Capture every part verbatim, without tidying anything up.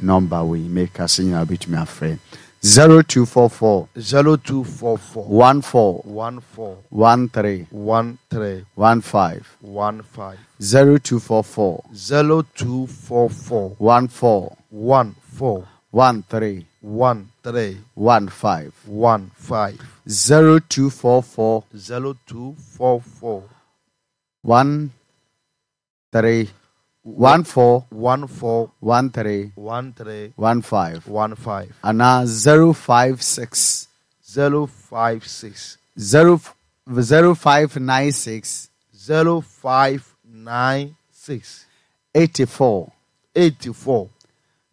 nɔmba wei meka sɛ nyinaa wobɛtumi afrɛ zero two four four zero two four four one four one four one three one three one five one five zero two four four zero two four four one four one four one three one three one five one five zero two four four zero two four four one three one four one four one three one three one five one five anaa zero five six zero five six zero zero five nine six zero five nine six eighty four eighty four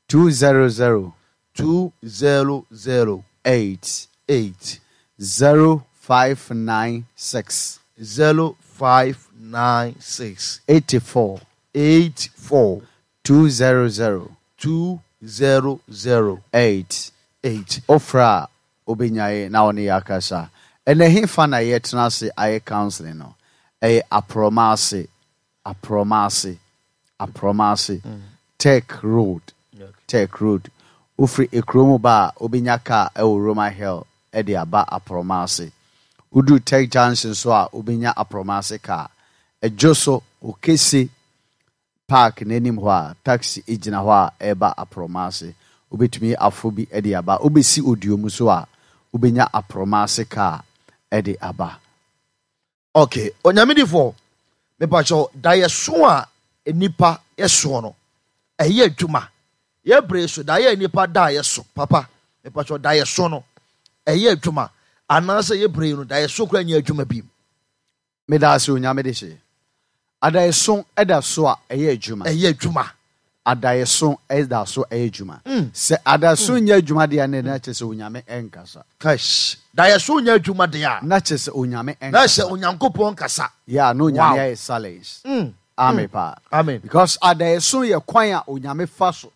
two zero zero two zero zero eight eight zero five nine six zero five nine six eighty four eight four two zero zero two zero zero eight eight. Wofrɛ a wobɛnya yɛ na wo ne yɛ akasa. Ɛnɛ hefa na yɛtena ase ayɛ counseling no? Ɛyɛ Aprɔma ase, Aprɔma ase, Aprɔma ase, Tech Road, Tech Road. Wofiri ekuro mu ba a wobɛnya kaa ɛwɔ Roma Hill ɛde aba Aprɔma ase. Woduru Tech Junction so a wobɛnya Aprɔma ase kaa. Ɛdwo so Okese Park n'anim hɔ a taxi gyina hɔ a ɛreba Aprɔma ase. Wobɛtumi afo bi de aba. Wobɛsi Oduom so a wobɛnya Aprɔma ase kaa de aba. Okay, Onyamedifoɔ, mepakyɛw, daeɛso a nnipa yɛsoɔ no, ɛyɛ adwuma. Yɛ bere so, daeɛ a nnipa da a yɛso, papa, mepakyɛw, daeɛso no, ɛyɛ adwuma. Anaasɛ yɛ bere yi no, daeɛso koraa nyɛ adwuma bi. Meda ase Onyame de hye. Adaeɛso da so a ɛyɛ adwuma. Ɛyɛ adwuma. Adaeɛso da so ɛyɛ adwuma. Sɛ adaeɛso nyɛ adwuma deɛ a, na kyerɛ sɛ Onyame ɛnkasa. Kash. Daeɛso nyɛ adwuma deɛ a. Na kyerɛ sɛ Onyame ɛnkasa. Na kyerɛ Onyankopɔn nkasa. Yeah, na Onyame Wow. ayɛ silence. Mm. Amen paa. Amen. Because adaeɛso yɛ kwan a Onyame fa so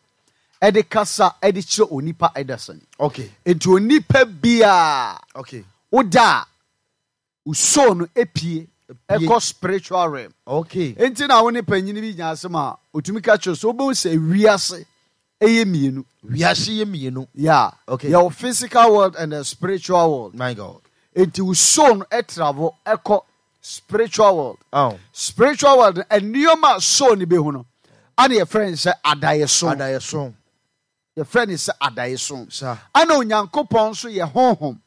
ɛde kasa ɛde kyerɛ onipa ɛdasani. Okay. Enti onipa biara Okay. woda a wo soul no epie ɛkɔ spiritual realm. Okay. Enti na wo ne panyin bi nya asɛm a otumi ka kyerɛ so wobɛhu sɛ wiase ɛyɛ mmienu. Wiase yɛ mmienu. Yeah. Okay. Yɛwɔ physical world and the spiritual world. My God. Enti wo soul no ɛtravel ɛkɔ spiritual world. Oh. Spiritual world no, nneɛma a soul no bɛhu no, ana yɛfrɛ no sɛ adaeɛso. Adaeɛso. Yɛfrɛ no sɛ adaeɛso. Sa. Ana Onyankopɔn nso yɛ honhom.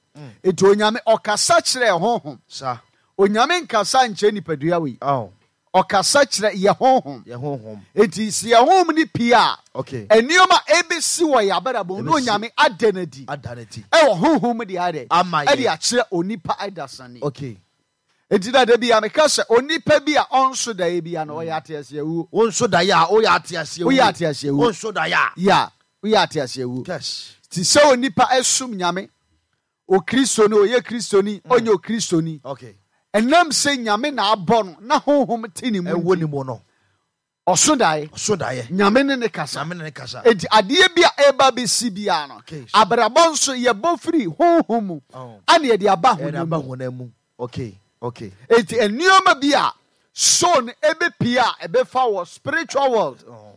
Enti Onyame ɔkasa kyerɛ honhom. Sa. Onyame nkasa nkyerɛ nipadua wei. Oh. Ɔkasa kyerɛ yɛ honhom. Yɛ honhom. Enti sɛ yɛ honhom ni pii a, Okay. nneɛma ebesi wɔ yɛ abrabɔ mu na Ebesi. Onyame ada n'adi. Ada n'adi. Ɛwɔ honhom mu de ayɛ dɛ. Ama yɛ. Ɛde akyerɛ onipa adasani. Okay. Enti na da bi a meka sɛ onipa bi a ɔnso daeɛ bi a na ɔyɛ ateaseɛ wuo. Wonso daeɛ a woyɛ ateaseɛ wuo. Woyɛ ateaseɛ wuo. Wonso daeɛ a. Ya, woyɛ ateaseɛ wuo. Yes. Ti sɛ onipa ɛsom Nyame, okristoni, ɔyɛ kristoni, ɔnyɛ okristoni. Okay. Ɛnam sɛ Nyame na abɔ no na honhom te ne mu Ɛwɔ nti. ne mu no. Ɔso daeɛ. Ɔso daeɛ. Nyame ne ne kasa. Nyame ne ne kasa. Enti adeɛ bi a ɛba bɛsi biara no, Okay. abrabɔ nso yɛbɔ firi honhom mu. Oh. Ana yɛde aba Yɛde honam aba mu. honam mu. Okay. Okay. Enti nneɛma bi a soul no ɛbɛpie a ɛbɛfa wɔ spiritual world. Oh.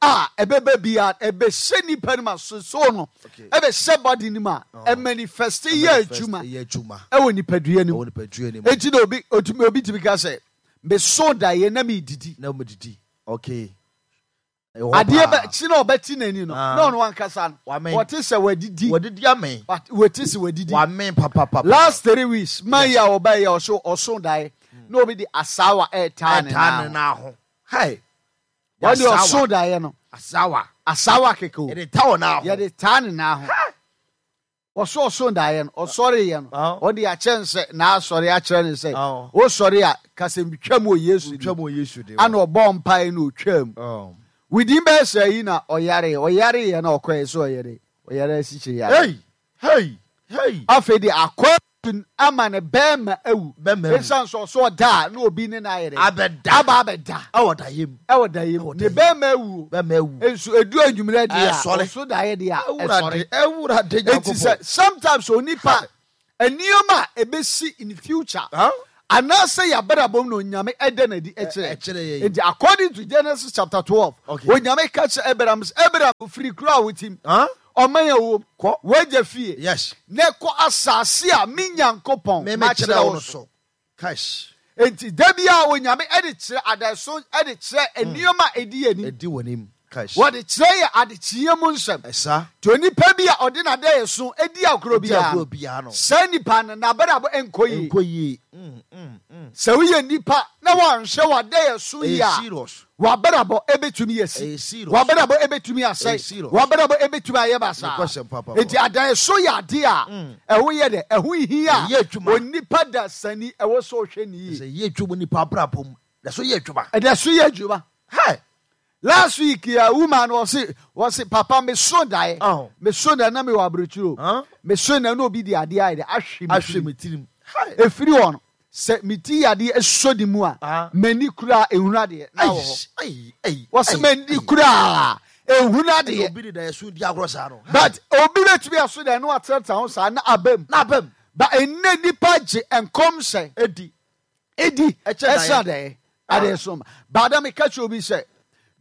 A ɛbɛba bi a ɛbɛhyɛ nipa no ma so soul no Okay. ɛbɛhyɛ body no mu a ɛmanifest yɛ adwuma. Yɛ adwuma. Ɛwɔ nipadua no mu. Ɛwɔ nipadua no mu. Enti na obi, otumi, obi tumi ka sɛ meso daeɛ na medidi. Na medidi. Okay. Ɛwɔ Adeɛ paa. bɛ kyi na ɔbɛti n'ani no, Ah. na ɔno ankasa no, Wamɛn. wɔte sɛ wadidi. Wadidi amɛn. Wat-, wɔte sɛ wadidi. Wamɛn papapapa. Last three weeks, man yi a ɔbaa yi a ɔso, ɔso daeɛ, na obi de asawa ɛɛtaa ne Ɛɛtaa nan ne ho. nan ho. Hey. Wɔde Asawa. ɔso daeɛ no. Asawa. Asawa keke o. Yɛde taa wɔ nan ho. Yɛde taa ne nan ho. Ɔso ɔso daeɛ no, ɔsɔre yɛ no. Ah. Ɔde akyɛ nsɛ, na asɔre akyerɛ ne sɛ, Ah. wosɔre a, kasɛm twam wɔ Yesu din. Twam wɔ Yesu din. Ana ɔbɔ mpaeɛ na otwam. Oh. Within bɛyɛ sɛ yi na ɔyare, ɔyare yɛ na ɔkɔɛ sɛ ɔyare, ɔyare asikyire yare. Hey, hey, hey. Afei de akɔ ama ne bɛrima awu. Bɛrima awu. Esiane sɛ ɔso ɔda a, na obi ne na ayɛ dɛ. Abɛda. Aba abɛda. Ɛwɔ da yam. Ɛwɔ da yam. Ɛwɔ Ne da yam. bɛrima awu. Bɛrima awu. Nso edu anwummerɛ deɛ a, Ɛsɔre. ɔso da yɛ deɛ a, Ɛwurade, ɛsɔre. ɛwurade Enti sɛ Nyankopɔn. sometimes onipa nneɛma a ebesi in future Huh? Anaasɛ yɛabrabɔ mu na Onyame ɛda n'adi ɛkyerɛ. Ɛkyerɛ yɛn. Nti according to Genesis chapter twelve, Okay. Onyame ka kyerɛ Abraham sɛ, Abraham, firi kuro a wotim, Huh? ɔman a wom, Kɔ. w'agya fie, Yes. na kɔ asase a me Nyankopɔn Me makyerɛ mekyerɛ wo wo no so. so. Cash. Nti da bi a Onyame ɛde kyerɛ adaeso, ɛde kyerɛ nneɛma a ɛdi anim. Ɛdi w'anim. Cash. Wɔde kyerɛ yɛ adekyeɛ mu nsɛm. Ɛsa. Nti onipa bi a ɔde n'adaeso edi agorɔ Ɛdi biara agorɔ no, biara no. saa nipa no n'abrabɔ nkɔ yie. Nkɔ yie. Mm, mm, mm. Sɛ woyɛ nipa na wɔanhwɛ w'adaeso yie Ɛyɛ a, serious. w'abrabɔ ebetumi asi. Ɛyɛ serious. W'abrabɔ ebetumi asɛe. Ɛyɛ serious. W'abrabɔ ebetumi ayɛ basaa. Nokwasɛm papa. Nti adaeso yɛ ade a ɛho yɛ dɛ, ɛho hia. Ɛyɛ adwuma. Onipa da sani ɛwɔ sɛ ɔhwɛ ne yie. Sɛ yɛ adwuma nipa abrabɔ mu. Na so yɛ adwuma. Ɛdɛ so yɛ adwuma. Hey. Last week ya woman wɔsi wɔsi papa me so daeɛ. Oh. Me so daeɛ na me wɔ aburokyire o. Huh? Me so daeɛ na obi di adeɛ ayɛ dɛ ahwe me Ahwɛ tirim. me tirim. Hey. Efiri hɔ no sɛ me ti adeɛ esɔ ne mu a, Ah. m'ani kura ehunu adeɛ na wɔ hɔ. Ai, ai, Wɔsi ai, m'ani ai. kura ehunu adeɛ. Obi de daeɛ di agorɔ saa no. But obi betumi aso daeɛ na watenatena ho saa na abam. Na abam. But enne nipa gye nkɔm sɛ Edi. edi Ɛkyɛ ɛsɛ adeɛ adeɛ so ma. Baada mi ka kyerɛ obi sɛ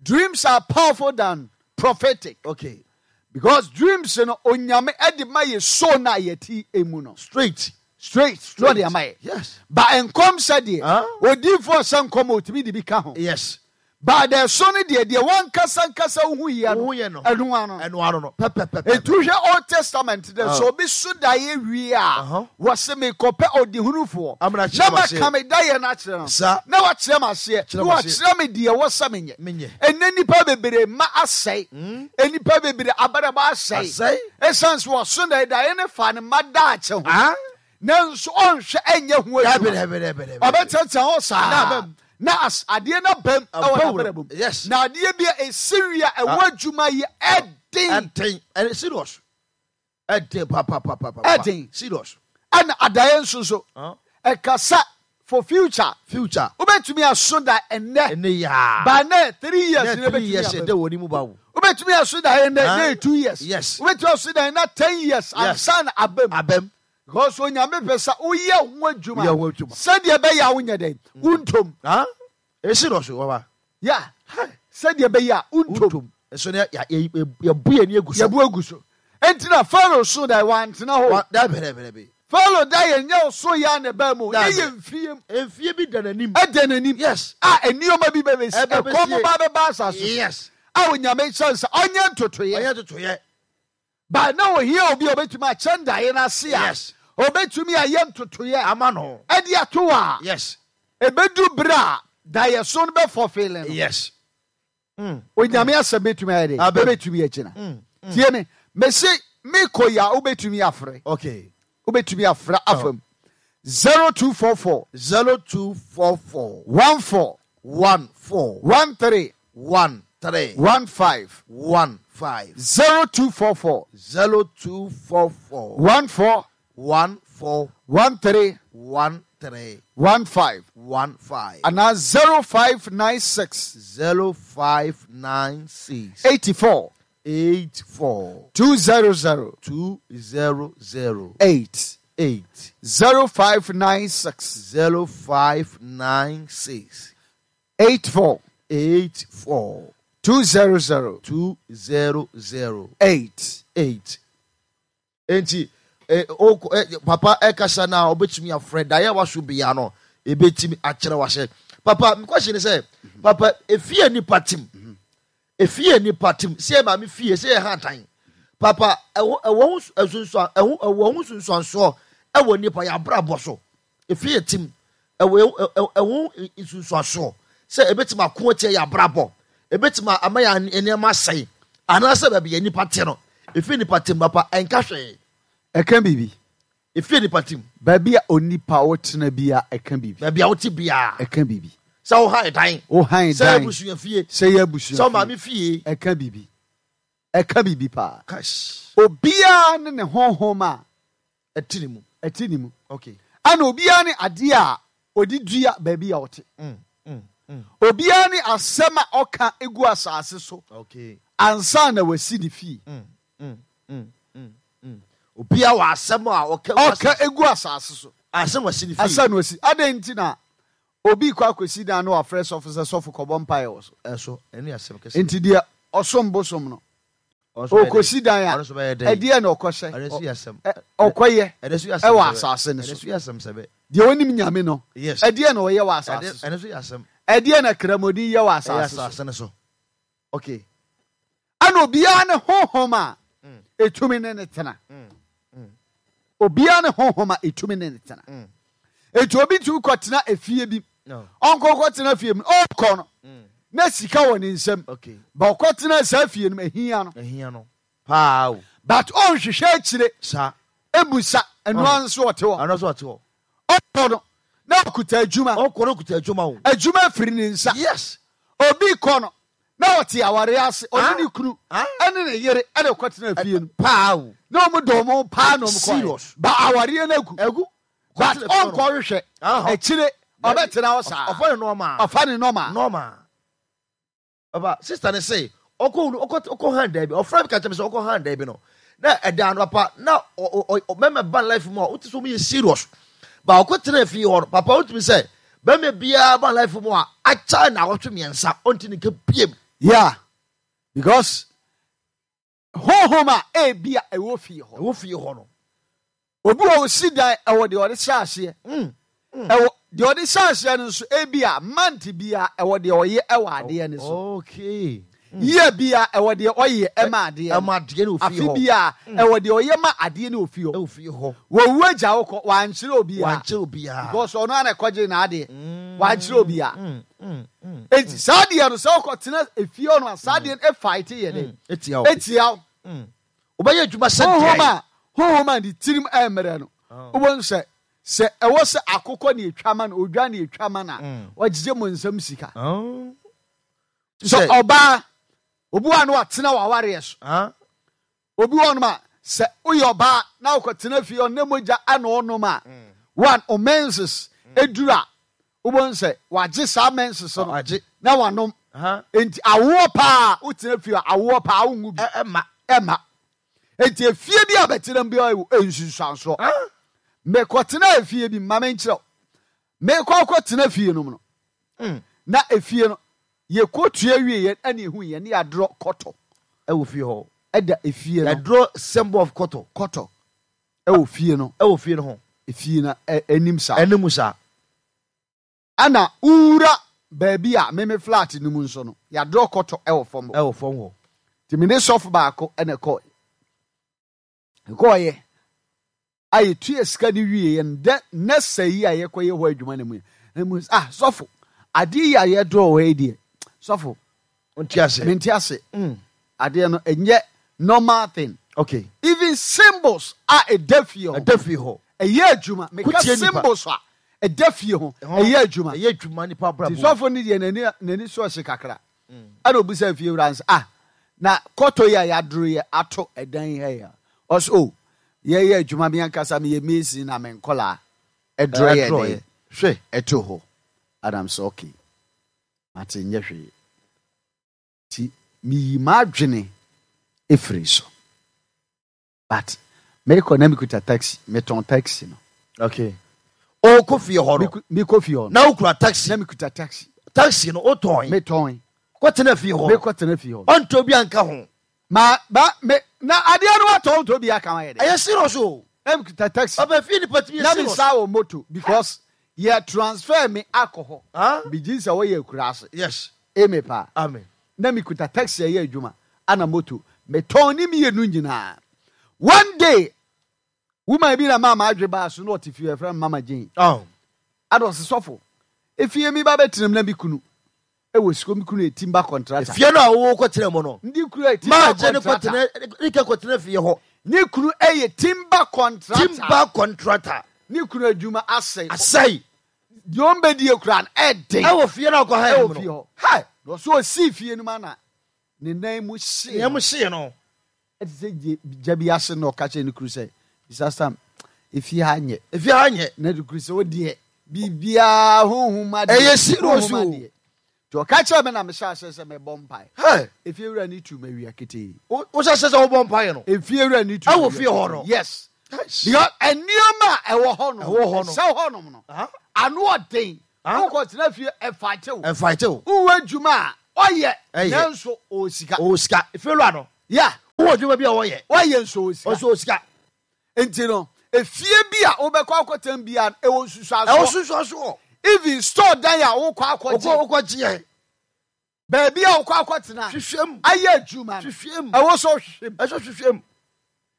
dreams are powerful than prophetic. Okay. Because dreams no Onyame ɛde ma yɛ so na yɛti emu no. Straight. Straight. No de ama yɛ. Yes. Ba nkɔm sɛ deɛ Huh? odiifoɔ sɛ nkɔm a otumi de bi ka ho. Yes. Ba deɛ so no deɛ deɛ wankasa nkasa wohu yɛ no Wohu yɛ no. ɛno ano. Ɛno ano no. Pɛpɛpɛpɛ. Etu hwɛ Old Testament dɛ Ah. sɛ obi so daeɛ wie a Uh-huh. wɔse mekɔpɛ ɔdehunufoɔ Amena kyerɛ na m aseɛ. maka me daeɛ no akyerɛ no Sa. na wakyerɛ m aseɛ Kyerɛ na m aseɛ. wakyerɛ me deɛ wɔ sɛ menyɛ. Menyɛ. Ɛnɛ nnipa bebree ma asɛe, nnipa bebree abrabɔ asɛe Asɛe. ɛsiane sɛ wɔso daeɛ daeɛ ne fa ne mma daakye ho Ah. nanso ɔnhwɛ ɛnyɛ ho Dabi adwuma. dabi dabi dabi. Ɔbɛtɛtɛ hɔ Na saa abam. na as adeɛ no bam ɛwɔ Abam. n'abrabɔ mu. Yes. Na adeɛ bi a ɛsi wie a ɛwɔ adwuma yɛ ɛden. Ɛden. Ɛden serious. Ɛden papapapapa. Ɛden. Serious. Ɛna adaeɛ nso so Huh? ɛkasa for future. Future. Wobɛtumi aso da ɛnnɛ Ɛne yaa. ba nɛ three years Ne na three ɛbɛtumi years aba ɛdɛ mu. wɔ ne mu ba wo. Wobɛtumi aso da ɛnnɛ Huh? na two years. Yes. Wobɛtumi aso da ɛnnɛ ten years Yes. ansa na aba mu. Abam. Because Onyame pɛ sɛ woyɛ ho adwuma Woyɛ ho adwuma. sɛdeɛ ɛbɛyɛ a wonyɛ dɛn wontom. Huh? Ɛyɛ serious waba. Yeah. Sɛdeɛ ɛbɛyɛ a wontom. Wontom. Ɛso ne yɛ yɛ yɛbu yɛn ni egu so. Yɛbu agu so. Enti na Pharaoh so da wantena hɔ. Wa dabi dabi dabi. Pharaoh da yɛ nyɛ ɔso yɛ a na ɛbaa mu. Dabi. Ne yɛ mfie mu. Mfie bi da n'anim. Ɛda n'anim. Yes. A nneɛma bi bɛbɛsi. Ɛbɛbɛsie. Ɛkɔm ba bɛba asase so. Yes. A Onyame kyerɛ sɛ ɔnyɛ ntotoeɛ. Ɔyɛ ntotoeɛ. Ba na ohia obi a obetumi akyɛ ndaeɛ n'ase a. Yes. Obetumi ayɛ ntotoeɛ. Ama no. Ɛde ato a. Yes. Ebedu bere a daeɛso no bɛfɔfeele no. Yes. Onyame asɛm betumi ayɛ dɛ. Abɛm. Ebetumi agyina. Tie me. Mesi mekɔ yi a wobetumi afrɛ. Okay. Wobetumi afrɛ afam. Zero two four four. Zero two four four. One four. One four. One three. One three. One five. One five. Zero two four four. Zero two four four. One four. One four. One three. One three. One five. One five. And now zero five nine six. Zero five nine six. Eighty four. Eight four. Two zero zero. Two zero zero. Eight. Eight. Zero five nine six. Zero five nine six. Eight four. Eight four. Two zero zero. Two zero zero. Eight. Eight. Enti eh, oko, eh, papa ɛkasa na obetumi afrɛ daeɛ waso bia no ebetumi akyerɛ wahyɛ. Papa, mi question sɛ, papa, efie nipa tim, efie nipa tim, sɛ yɛ maame fie, sɛ yɛ ha dan, papa, ɛwɔ ɛwɔ ho nsunsuan ɛwɔ ɛwɔ ho nsunsuansoɔ ɛwɔ nipa yɛ abrabɔ so. Efie tim ɛwɔ ɛwɔ ɛwɔ nsunsuansoɔ sɛ ebetumi ako atia yɛ abrabɔ, ebetumi ama yɛ nneɛma asɛe, anaasɛ baabi yɛ nipa te no, efie nipa tim, papa, ɛnka hwee? Ɛka biribi. Efie nipa tim. Baabi a onipa wotena bi a ɛka biribi. Baabi a wote biara. Ɛka biribi. Sɛ wohan dan, Wohan sɛ dan. abusua fie, sɛ yɛ abusua sɛ ɔmaame fie. fie. Ɛka biribi. Ɛka biribi paa. Cash. Obiara ne ne honhom a ɛte ne mu. Ɛte ne mu. Okay. Ɛna obiara ne adeɛ a ɔde dua baabi a ɔte. Mm, mm, mm. Obiara ne asɛm a ɔka egu asase so. Okay. Ansa na wasi ne fie. Mm, mm, mm, mm, mm. Obiara wɔ asɛm a ɔka ɔka egu asase so. Ansa na wasi ne fie. Ansa na wasi. Adɛn nti na obi kɔ akɔsi dan na wafrɛ sɔfo sɛ sɔfo kɔbɔ mpaeɛ wɔ so? Ɛso, ɛno yɛ asɛm kɛseɛ. Nti deɛ ɔsom bosom no, ɔkɔsi dan a, ɛdeɛ na ɔkɔhyɛ, ɔkɔyɛ ɛwɔ asase no so. Deɛ ɔnim Nyame no, ɛdeɛ na ɔyɛ wɔ asase so. Ɛdeɛ na kramoni yɛ wɔ asase so. Okay. Ɛna obiara ne honhom a ɛtumi ne ne tena. Obiara ne honhom a ɛtumi ne ne tena. Enti obi tumi kɔtena efie bi, ɔnkɔ kɔtena fie mu, ɔkɔ no na sika wɔ ne nsam, ba ɔkɔtena saa fie no mu ehia no. Ehia no paa o. But ɔnhwehwɛ akyire. Saa. Ebusa ɛnoa nso ɔte hɔ. Ɛno nso ɔte hɔ. Ɔkɔ no na ɔkuta adwuma. Ɔkɔ no ɔkuta adwuma o. Adwuma firi ne nsa. Yes. Obi kɔ no na ɔte aware ase, ɔne ne kunu ɛne ne yere ɛna ɔkɔtena fie no. Paa o. Na ɔmo dɔ ɔmo paa na ɔmo kɔ. Serious. Ba awareɛ no agu. Agu. But ɔnkɔ hwehwɛ akyire ɔbɛtena hɔ saa. Ɔfa ne normal. Ɔfa ne normal. Normal. Papa sister ne se ɔkɔ ɔkɔ ɔkɔ han daabi ɔfrɛ mi ka kyerɛ mi sɛ ɔkɔ han daabi no na ɛdan no papa na ɔ ɔ ɔ mɛmɛ ban life mu a wote sɛ ɔmo yɛ serious ba ɔkɔ tena fie hɔ no papa wotumi sɛ bɛmɛ biara ban life mu a akyɛ na awɔtwe mmiɛnsa ɔnti ne nka biem. Yeah, because honhom a ebi a ɛwɔ fie hɔ. Ɛwɔ fie hɔ no. Obi wɔ osi dan ɛwɔ deɛ ɔde hyɛ aseɛ. Ɛwɔ deɛ ɔde hyɛ aseɛ no nso ebi a month bi a ɛwɔ deɛ ɔyɛ ɛwɔ adeɛ no so. Okay. Year bi a ɛwɔ deɛ ɔyɛ ɛma adeɛ no. Ɛma adeɛ no wɔ fie Afe hɔ. bi a ɛwɔ deɛ ɔyɛ ma adeɛ no wɔ fie hɔ. Ɛwɔ fie hɔ. Wɔwu agya wo kɔ wankyerɛ obiara. Wankyerɛ obiara. Because ɔno ana ɛkɔgye n'adeɛ. Wankyerɛ obiara. Enti saa adeɛ no sɛ ɔkɔtena efie hɔ no a saa adeɛ no efight yɛ dɛ. Etia wo. Etia wo. Wobɛyɛ adwuma sɛ Honhom deɛ. a honhom a ne tirim ɛmmerɛ no wobɛhu sɛ sɛ ɛwɔ sɛ akokɔ ne etwa ma no odwa ne etwa ma no a ɔgyegye mo nsam sika. Sɛ ɔbaa obi wa no watena w'awareɛ so. Obi wɔ nom a sɛ woyɛ ɔbaa na wokɔtena fie ɔne mogya ana ɔnom a one o menses eduru a wobɛhu sɛ wagye saa menses no Wagye. na wanom. Enti awoɔ paa wotena fie a awoɔ paa wonwu bi. Ɛma. Ɛma. Enti efie bi a bɛtena bi a nsunsuansoɔ. Mekɔtena efie bi ma menkyerɛw. Mekɔ akɔtena fie no mu no. Na efie no yɛkɔtua wie yɛn ɛne ehu yɛn ne yɛadorɔ kɔtɔ Ɛwɔ fie hɔ. Ɛda efie no. Yɛadorɔ symbol of kɔtɔ. Kɔtɔ ɛwɔ fie no. Ɛwɔ fie no ho. Efie no anim saa. Anim saa. Ɛna wura baabi a meme flat no mu nso no yɛadorɔ kɔtɔ ɛwɔ fam hɔ. Ɛwɔ fam hɔ. Nti mene sɔfo baako ɛna ɛkɔɔ. Ɛkɔɔyɛ a yɛtua sika no wie yɛn dɛ nɛsɛ yi a yɛkɔyɛ hɔ adwuma no mu yɛ mu ah sɔfo adeɛ yi a yɛdorɔ hɔ yi deɛ sɔfo Nti ase. Mente ase. Adeɛ no ɛnyɛ normal thing. Okay. Even symbols a ɛda fie hɔ. Ɛda fie hɔ. Ɛyɛ adwuma. Meka Kutie nipa. symbols a ɛda fie ho. Ɛyɛ adwuma. Ɛyɛ adwuma nipa abrabɔ. Nti sɔfo no deɛ n'ani n'ani so ɔhye kakra. Ɛna obisa fie wura nso ah na kɔtɔ yi a yɛadoro yɛ ato ɛdan yi ha yi a ɔso o yɛyɛ adwuma mi ankasa meyɛ mason na me nkɔlaa ɛdoro yɛ Ɛdoro dɛ yɛ. Hwɛ. Ɛto hɔ. Adam sɛ okay mate nyɛ hwee nti miyi m'adwene efiri so but mekɔ na mekuta taxi metɔn taxi no. Okay. Ɔkɔ fie hɔ no. Mekɔ fie hɔ no. Na wokura taxi. Na mekuta taxi. Taxi no wotɔn. Metɔn. Kɔtena fie hɔ. Mekɔ tena fie hɔ. Ɔntɔ bi anka ho. Ma ba me na adeɛ no watɔ ntɔ bi aka ho ayɛ dɛ. Ɛyɛ serious o. Na mekuta taxi. Ɔbɛ fie nipa tumi yɛ Na serious. me sa wɔ moto because yɛ transfer me akɔ hɔ. Ah? Megye sɛ wɔyɛ akura ase. Yes. Eme paa. Amen. Na mekuta taxi ɛyɛ adwuma ana moto metɔn ne mmienu nyinaa. One day woman bi na maa ma adwe baa so na ɔte fie ɛfrɛ no Mama Jane. Oh. Ada ɔse sɔfo efie mi ba bɛtena mu na mi kunu ɛwɔ sika mi kunu yɛ timber contractor. Efie no a wɔwɔ kɔtena mu no. Ndi kunu yɛ timber Maa Jane contractor. kɔtena ne kɛ kɔtena fie hɔ. Ne kunu yɛ timber contractor. Timber contractor. Ne kunu adwuma asɛe. Asɛe. Deɛ ɔmbɛdi ekura no ɛden. Ɛwɔ fie no a ɔkɔ ha Ɛwɔ mu no. fie hɔ. Hi. Na ɔso osi fie no mu ana ne nan mu hyee. Ne nan mu hyee no. Ɛte sɛ gye gya bi ase na ɔka kyerɛ ne kunu sɛ Mister Sam efie ha nyɛ. Efie ha nyɛ. Na ne kunu sɛ o deɛ biribiara honhom adeɛ. Ɛyɛ serious honhom o. adeɛ. Nti ɔka kyerɛ me na mehyɛ aseɛ sɛ mebɔ mpae. Hey. Efie wura ne tu ma wia ketee. Wo hyɛ aseɛ sɛ wobɔ mpae no? Efie wura ne tu Ɛwɔ ma fie hɔ wia no? ketee. Yes. Yes. Because nneɛma a ɛwɔ hɔ nom, Ɛwɔ hɔ no. ɛsɛ hɔ nom no, Ah. ano ɔden. Ah. Wokɔtena fie, ɛfa wo. Ɛmfa wo. Wowɔ adwuma a ɔyɛ, Ɛyɛ. nanso ɔwɔ sika. Ɔwɔ sika. Efewura no, Yeah, wowɔ adwuma bi a wɔyɛ, wɔyɛ nso ɔwɔ sika. ɔso wɔ sika. Nti no, efie bi a wobɛkɔ akɔtɛn bi a ɛwɔ nsusuasoɔ. Ɛwɔ nsusuasoɔ. Even store dan a wokɔ akɔgye, Wokɔ wokɔgyeɛ. baabi a wokɔ akɔtena Hwehwɛ mu. ayɛ adwuma no, Hwehwɛ mu. ɛwɔ sɛ ɔhwehwɛ mu. Ɛsɛ hwehwɛ mu.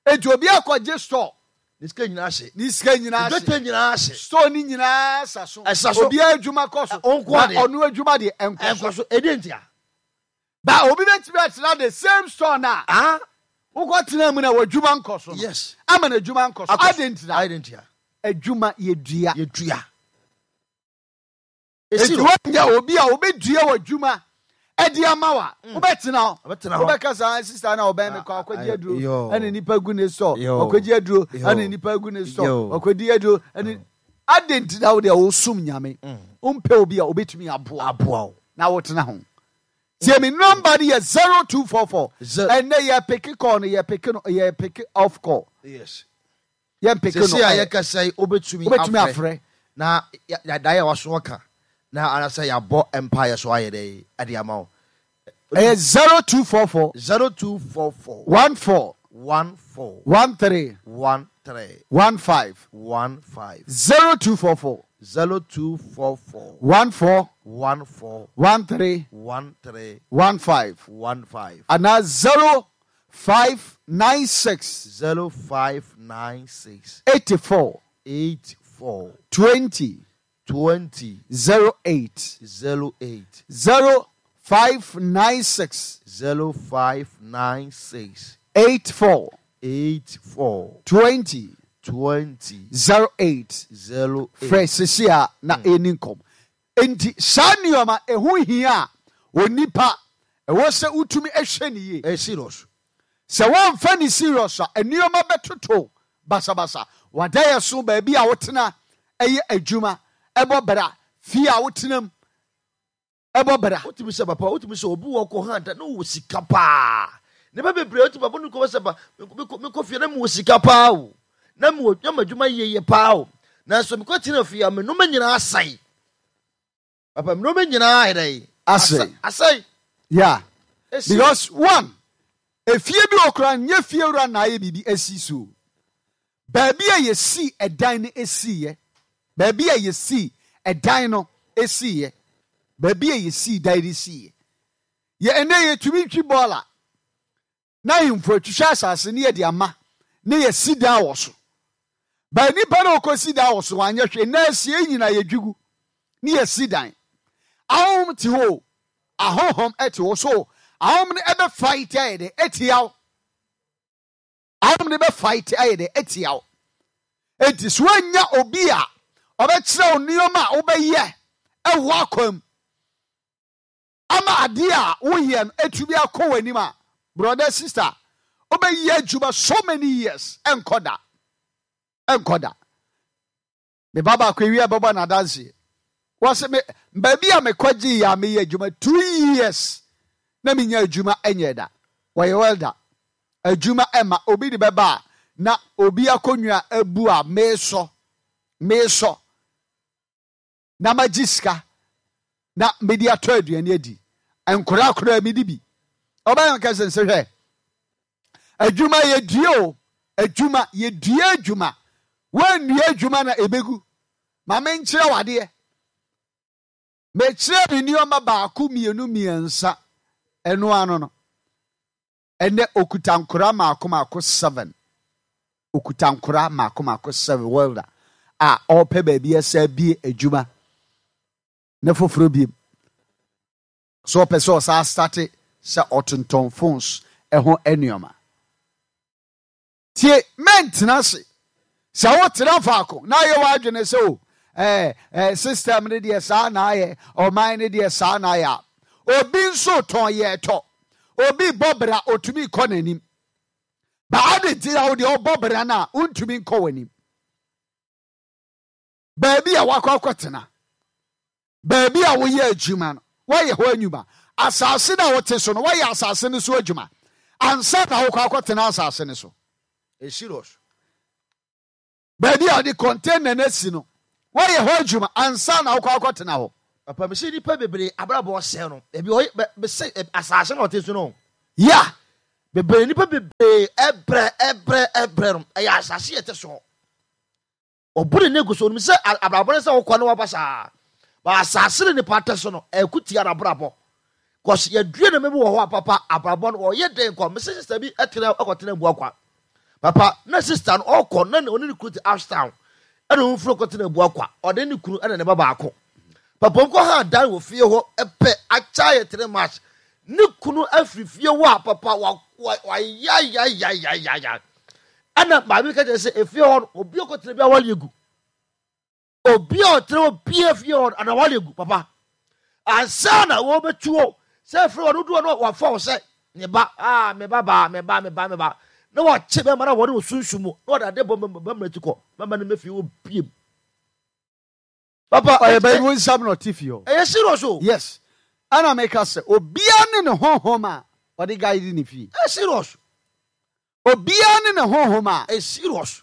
Enti obi akɔgye store, Ne sika nyinaa hye. Ne sika nyinaa hye. Dwetɛ nyinaa hye. Store ni nyinaa sa so. Ɛsa so. Obiara adwuma kɔ so. Ɛ, ɔnko Na adeɛ. ɔno adwuma deɛ ɛnkɔ so. Ɛnkɔ so. Ɛdi ntia. Ba obi bɛtumi atena the same store na Ah. wokɔ tena mu na w'adwuma nkɔ so no. Yes. Ama n'adwuma nkɔ so. Akɔ so. Adi ntina? Adi ntia. Adwuma yɛdua. Yɛdua. Eti Esi no. wɔnyɛ obi a wobɛdua w'adwuma ɛde ama wa, wobɛtena hɔ. Wobɛtena hɔ. Wobɛka saa sister na ɔbɛn me kɔ akɔgye Ah, aduro yo. ɛne nipa gu ne store, Yo. ɔkɔgye aduro Yo. ɛne nipa gu ne store, Yo. ɔkɔdi aduro ɛne adi ntina wo deɛ wosom Nyame, wompɛ obi a wobɛtumi aboa Aboa wo. na wotena ho. Tie me, number no yɛ zero two four four. Ze- Ɛnɛ yɛ pick call no, yɛ pick no, yɛ pick off call. Yes. Yɛ pick no. Sisi a ɛ, yɛkasa yi, wobɛtumi wobɛtumi afrɛ. Na yɛdaeɛ a waso ɔka na anasɛ yɛabɔ mpaeɛ so ayɛ dɛ ɛde ama wo. Ɛyɛ zero two four four zero two four four one four one four one three one three one five one five zero two four four zero two four four one four one four one three one three one five one five anaa zero five nine six zero five nine six eighty-four eight four twenty twenty zero eight zero eight zero five nine six zero five nine six eight four eight four twenty twenty zero eight. zero eight. Frɛ sisi a na ɛni nkɔm. Enti saa nneɛma ɛho hia a onipa ɛwɔ sɛ wotumi ahwɛ ne yie. Ɛyɛ serious. Sɛ wɔmfa ne serious a, nneɛma bɛtoto basabasa. Wada yɛ so, baabi a wotena ɛyɛ adwuma ɛbɔ bra, fie a wotena mu ɛbɔ bra. Wotumi sɛ papa, wotumi sɛ obi wɔ kɔ hanta na wɔ sika paa. Nipa bebree wotumi papa no kɔ sɛ ba mekɔ mekɔ fie na mewɔ sika paa o, na mewɔ na m'adwuma yie yie paa o, nanso mekɔ tena fie a, me nneɛma nyinaa asɛe. Papa, me nneɛma nyinaa ayɛ dɛ? Asɛe. Asɛe. Yeah. Esi- Because one, efie bi wɔ koraa, nyɛ fie wura na ayɛ biribi asi so. Baabi a yɛsi ɛdan no esiiɛ, baabi a yɛsi ɛdan no esiiɛ, baabi a yɛsi dan no esiiɛ, yɛ ɛnɛ yɛtumi twi bɔɔla na ahemfo atwitwa asase ne yɛde ama ne yɛsi dan wɔ so. Baa nipa na ɔkɔsi dan wɔ so, wanyɛ hwee na asie nyinaa yɛdwigu ne yɛsi dan. Ahonhom te hɔ o, ahonhom te hɔ so, ahonhom no ɛbɛ fight ayɛ dɛ ɛtia wo. Ahonhom no bɛ fight ayɛ dɛ ɛtia wo. Enti so woanya obi a ɔbɛkyerɛ wo nneɛma a wobɛyɛ ɛwɔ akwam ama adeɛ a woyɛ no atumi akɔ w'anim a, brother, sister, wobɛyɛ adwuma so many years, ɛnkɔ da, ɛnkɔ da. Me ba baako ewie bɛbɔ n'adanseɛ, wɔsɛ me baabi a mekɔgye yɛ a meyɛ adwuma two years na menya adwuma ɛnyɛ da. Wɔyɛ welder, adwuma ɛma obi de bɛba a na obi akonnwa abu a meesɔ meesɔ na magye sika na mede atɔ aduane adi. Nkora koraa mede bi ɔbɛyɛ nkɛsɛ nsɛ hwɛ adwuma yɛdua o, adwuma yɛdua, adwuma woannua adwuma na ɛbɛgu. Ma menkyerɛ wadeɛ, mekyerɛ me nneɔma baako, mmienu, mmiɛnsa. Ɛno ano no, ɛnɛ okuta nkora maako maako seven, okuta nkora maako maako seven, welder a ɔrepɛ baabi ɛsɛ bie adwuma ne foforɔ biem so, ɔpɛ sɛ ɔsan start sɛ ɔtontɔn phones ɛho nneɛma. Tie, mɛntena ase sɛ wotena faako na ayɛ w'adwene sɛ o ɛɛ ɛɛ system no deɛ saa na ayɛ, ɔman no deɛ saa na ayɛ a, obi nso tɔn yɛ tɔ, obi bɔ bra otumi kɔ n'anim ba. Ade nti na wo deɛ ɔbɔ bra no a wontumi nkɔ w'anim? Baabi a wakɔ akɔtena, baabi a woyɛ adwuma no, woayɛ hɔ adwuma. Asase no a wote so no, woayɛ asase no so adwuma ansa na wokɔ akɔtena asase no so. It's serious. Baabi a ɔde container no asi no, woayɛ hɔ adwuma ansa na wokɔ akɔtena hɔ. Papa, mese nnipa bebree abrabɔ ɔsɛe no, ebi ɔyɛ bɛ mese asase na ɔte so no. Yeah. Bebree nnipa bebree ɛbrɛ ɛbrɛ ɛbrɛ no, ɛyɛ asase yɛ te so. Ɔbu ne ne gu so, onim sɛ abrabɔ ne sɛ wokɔ ne waba saa. Ba asase ne nipa te so no, ɛko tia n'abrabɔ. Kɔs yɛdua ne mɛbi wɔ hɔ a papa abrabɔ no ɔyɛ den kɔ. Mese sister bi ɛtena ɛkɔtena Abuakwa. Papa na sister no ɔkɔ na ɔne ne kunu te Ashtown. Ɛna ɔmo firi kɔtena Abuakwa. Ɔne ne kunu ɛna ne ba baako. Papa ɔmo kɔ ha dan wɔ fie hɔ ɛpɛ akyɛ yɛ three months. Ne kunu afiri fie hɔ a papa wa wa wayayayayaya. Ɛna maame ka kyerɛ sɛ efie hɔ no obi ɔkɔtena bi awale egu. Obi a ɔtena hɔ bia fie hɔ no ana wale egu papa. Ansa na wɔbɛtu hɔ sɛ efie hɔ no dodoɔ no wafa wɔ sɛ ne ba aa me ba baa me ba me ba me ba na wakye bɛma na wɔde wɔ sunsun mu na wɔde ade bɔ bɛma ti kɔ bɛma no mɛfie hɔ biem. Papa ɔyɛ bɛyi wo nsam na ɔte fie hɔ. Ɛyɛ serious o. Yes. Ɛna meka sɛ obiara ne ne honhom a ɔde guide ne fie. Ɛyɛ serious. Obiara ne ne honhom a. Ɛyɛ serious.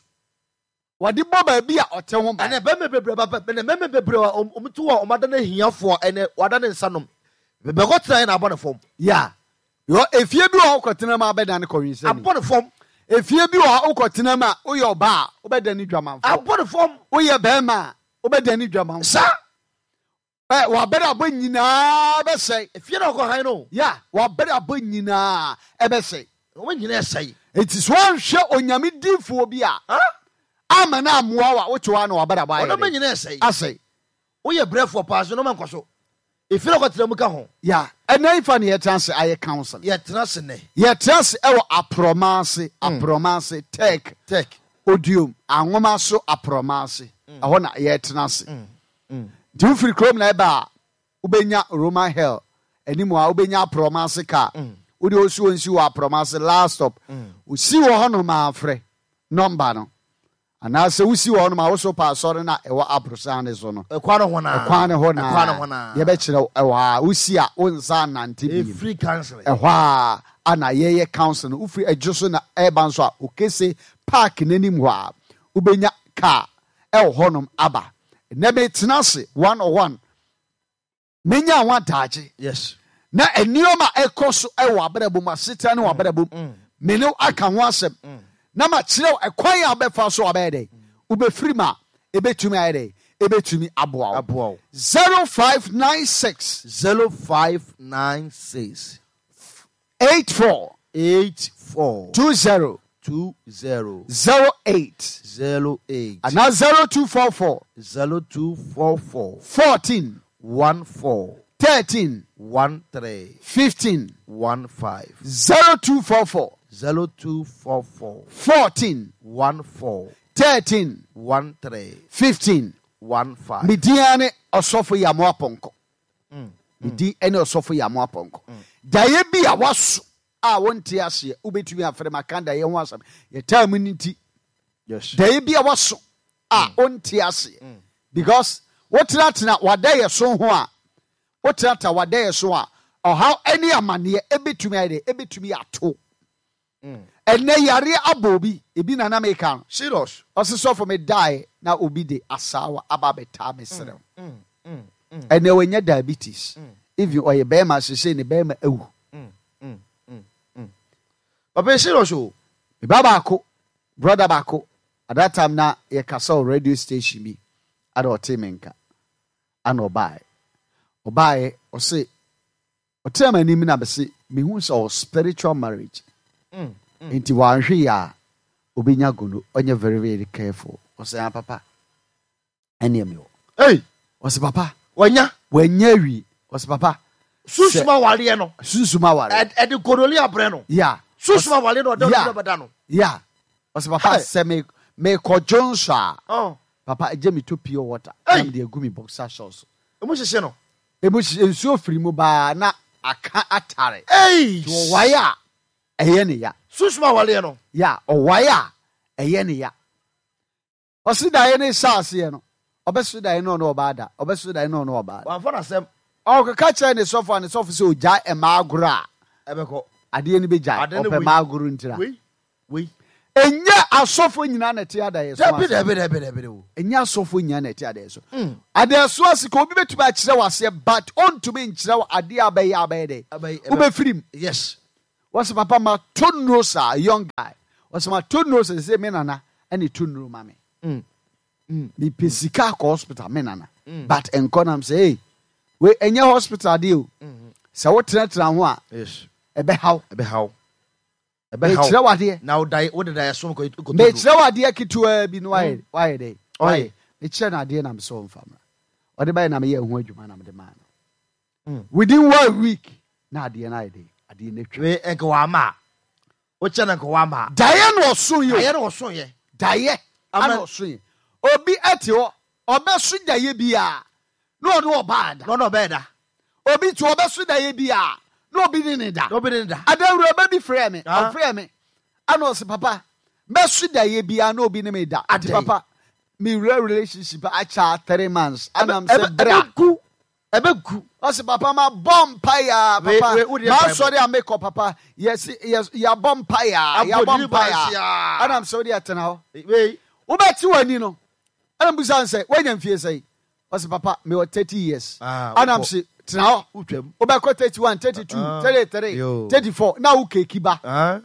Wɔde bɔ baabi a ɔte ho ban. Ɛnɛ bɛmɛ bebree ba ɛnɛ bɛmɛ bebree a wɔn ti wɔ wɔn ada ne hiafoɔ ɛnɛ wɔada ne nsa nom bɛkɔ tena yɛ na abɔ ne fam. Ya yɔ efie bi wɔ hɔ kɔtena mu a bɛda ne kɔwinsɛni. Abɔ ne fam. Efie bi wɔ hɔ wokɔtena mu a woyɛ ɔbaa a wobɛda ne dwamanfoɔ. Abɔ ne fam. Woyɛ bɛrima a wobɛda ne dwamanfoɔ. Sa. Ɛ wabɛrɛ abɔ nyinaa bɛsɛe. Efie na ɔkɔ han no. Ya wabɛrɛ abɔ nyinaa ɛbɛsɛe. Wɔn nyinaa ɛsɛe. Eti so wɔnhwɛ onyame diifoɔ bi a. Ama na amoa wa wote hɔ a na wabɛrɛ abɔ ayɛ Ɔno nyinaa ɛsɛe. Asɛe. Woyɛ brɛfoɔ paa so nneɛma nkɔ so. Efie na ɔkɔtena mu ka ho. Ya ɛnɛ ifa ne yɛtena ase ayɛ council. Yɛtena ase nɛ. Yɛtena ase ɛwɔ aprɔma ase aprɔma ase tech. Tech. Odiom anwoma so aprɔma ase. Ɛhɔ na yɛtena ase. Nti wofiri kurom na ɛba a wobɛnya Roman hell anim a wobɛnya aprɔma ase kaa. Wode osi wɔ nsi wɔ aprɔma ase last stop. Osi wɔ hɔnom afrɛ nɔmba no. Anaasɛ wosi wɔ hɔnom a woso pa asɔre na ɛwɔ aborosan ne so no. Ɛkwan no hɔ naa. Ɛkwan ne hɔ naa. Ɛkwan no hɔ naa. Yɛbɛkyerɛ ɛwɔ a wosi a wonsa nante bi. Free counseling. Ɛhɔ a ana yɛyɛ council no wofiri adwo so na ɛba nso a okese park n'anim hɔ a wobɛnya car ɛwɔ hɔnom aba. Ɛnɛ metena ase one on one. Menya ho adagye. Yes. Na nneɛma ɛkɔ so ɛwɔ abrabɔ mu asetena ne wɔ abrabɔ mu. Me ne aka ho asɛm. Na ma kyerɛ ɛkwan a wobɛfa so abɛyɛ dɛ. Wobɛfiri mu a ebɛtumi ayɛ dɛ. Ebɛtumi aboa wo. Aboa wo. zero five nine six. zero five nine six. eight four. eight four. two zero. two zero. zero eight. zero eight. And zero two four four. zero two four four. fourteen. one four. thirteen. one three. fifteen. one five. zero two four four. zero two four four. fourteen. one four. thirteen. one three. fifteen. one five. Mediane osofo yamo aponko. Medi ene osofo yamo aponko. Daye bi a waso a wonte ase ubetumi afere makanda ye ho asem. Ye time nti. Yes. Daye bi a waso a wonte ase. Because wotenatena wadaye so ho a wotenata wadaye so a ɔhaw ene amane ebetumi ayɛ ebetumi ato. Ene yare abobi ebi na na meka no. Serious. Ɔse sɔfo me die na obi de asawa aba beta me serew. Ene wenya diabetes. Even oye bema sese ne bema ewu. Papa serious o. Me baba ako, brother baako. At that time na ye kasa radio station bi. Ada ote menka. Ana obae. Obae ɔse ɔtena m'anim na bɛse mehu sɛ ɔwɔ spiritual marriage. Mm, mm. Nti wanhwe ya a obenya gono ɔnyɛ very very careful. Ɔse ah papa. Ɛne me wɔ. Hey, Ɔse papa. Wanya. Wanya wi. Ɔse papa. Susuma wale no. Susuma wale. Ɛ de gonoli abrɛ no. Yeah. Susuma wale no ɔdɔ no bɛda no. Yeah. Ɔse papa sɛ me me kɔdwo nso a. Oh. Papa gye me to pure water. Hey. Na me de agu me boxer shorts. Emu hyehyɛ no. Emu hyehyɛ nsuo firi mu baa na aka atare. Hey. To ɔwae a ɛyɛ ne ya. Susuma wale no. Yeah, ɔwae a ɛyɛ ne ya. Ɔsi daeɛ ne hyɛ aseɛ no. Ɔbɛso daeɛ no ɔno ɔbaa da. Ɔbɛso daeɛ no ɔno ɔbaa da. Wamfa n'asɛm. Ɔkeka kyerɛ ne sɔfo a ne sɔfo sɛ ogya mmaa agorɔ a. Ɛbɛkɔ. Adeɛ no bɛgyae. Adeɛ no Ɔpɛ wei. mmaa agorɔ ntira. Wei. Wei. Ɛnyɛ asɔfo nyinaa na ɛte adaeɛ so Dabi ase. dabi dabi dabi o. Ɛnyɛ asɔfo nyinaa na ɛte adaeɛ so. Mm. Adaeɛ so ase ka obi bɛtumi akyerɛ wo aseɛ, but ɔntumi nkyerɛ wo adeɛ a bɛyɛ a bɛyɛ dɛ Ɛbɛyɛ- ɛbɛ- wobɛfiri mu. Yes. Wɔsɛ papa ma to nnuro saa, young guy, wɔsɛ ma to nnuro sɛ sɛ me nana ɛne to nnuro ma me. Mm. Mm. Mepɛ sika akɔ hospital, me nana, but nkɔ nam sɛ, hey, wei ɛnyɛ hospital adeɛ o. Sɛ wotenatena ho a, Yes. ɛbɛhaw. Ɛbɛhaw. Ɛbɛhaw. Mekyerɛ wo adeɛ. Na woda wode da yɛsom kɔ kɔ. Mekyerɛ wo adeɛ ketewaa bi no, wayɛ wayɛ dɛ. Ɔyɛ. Wayɛ mekyerɛ no adeɛ na mesɛ ɔmfa mmra. Ɔde bɛyɛ na meyɛ ho adwuma na mede maa no. Mm. Within one week na adeɛ no ayɛ dɛ, adeɛ no atwa. Wei ɛnka wama a wokyɛ no nka wama a. Daeɛ na ɔso yi o. Ayɛ no wɔso yɛ. Daeɛ Ama- ana ɔso yi. Obi ɛte hɔ, ɔbɛso daeɛ bi a na ɔne ɔbaa da. Na ɔno ɔbɛyɛ da. Obi te ɔbɛso daeɛ bi a na obi ne ne da. Na obi ne da. Adawura ba bi frɛ me. Ah. Ɔfrɛ me ana ɔsɛ, papa, mɛso daeɛ bi a na obi ne me da. Ati Adɛn? papa, mewura relationship akyɛ three months anam sɛ bra. Ɛbɛgu, ɛbɛgu. Ɔsɛ papa, ma bɔ mpaeɛ. Wei- Papa, wei, wo deɛ maasɔre a mekɔ, papa, yɛsi yɛ yɛabɔ mpaeɛ, Abɔ yɛabɔ deliverance mpaeɛ a. anam sɛ wode atena hɔ, Wei wobɛte w'ani no. Ɛna mbusa no sɛ woanya mfie sɛi? Ɔsɛ papa, mewɔ thirty years. Ah, Anam wokɔ- se tena hɔ. Wotwam. Wobɛkɔ thirty-one, thirty-two, Ah, thirty-three, yo. thirty-four na wo keeki ba. Ah,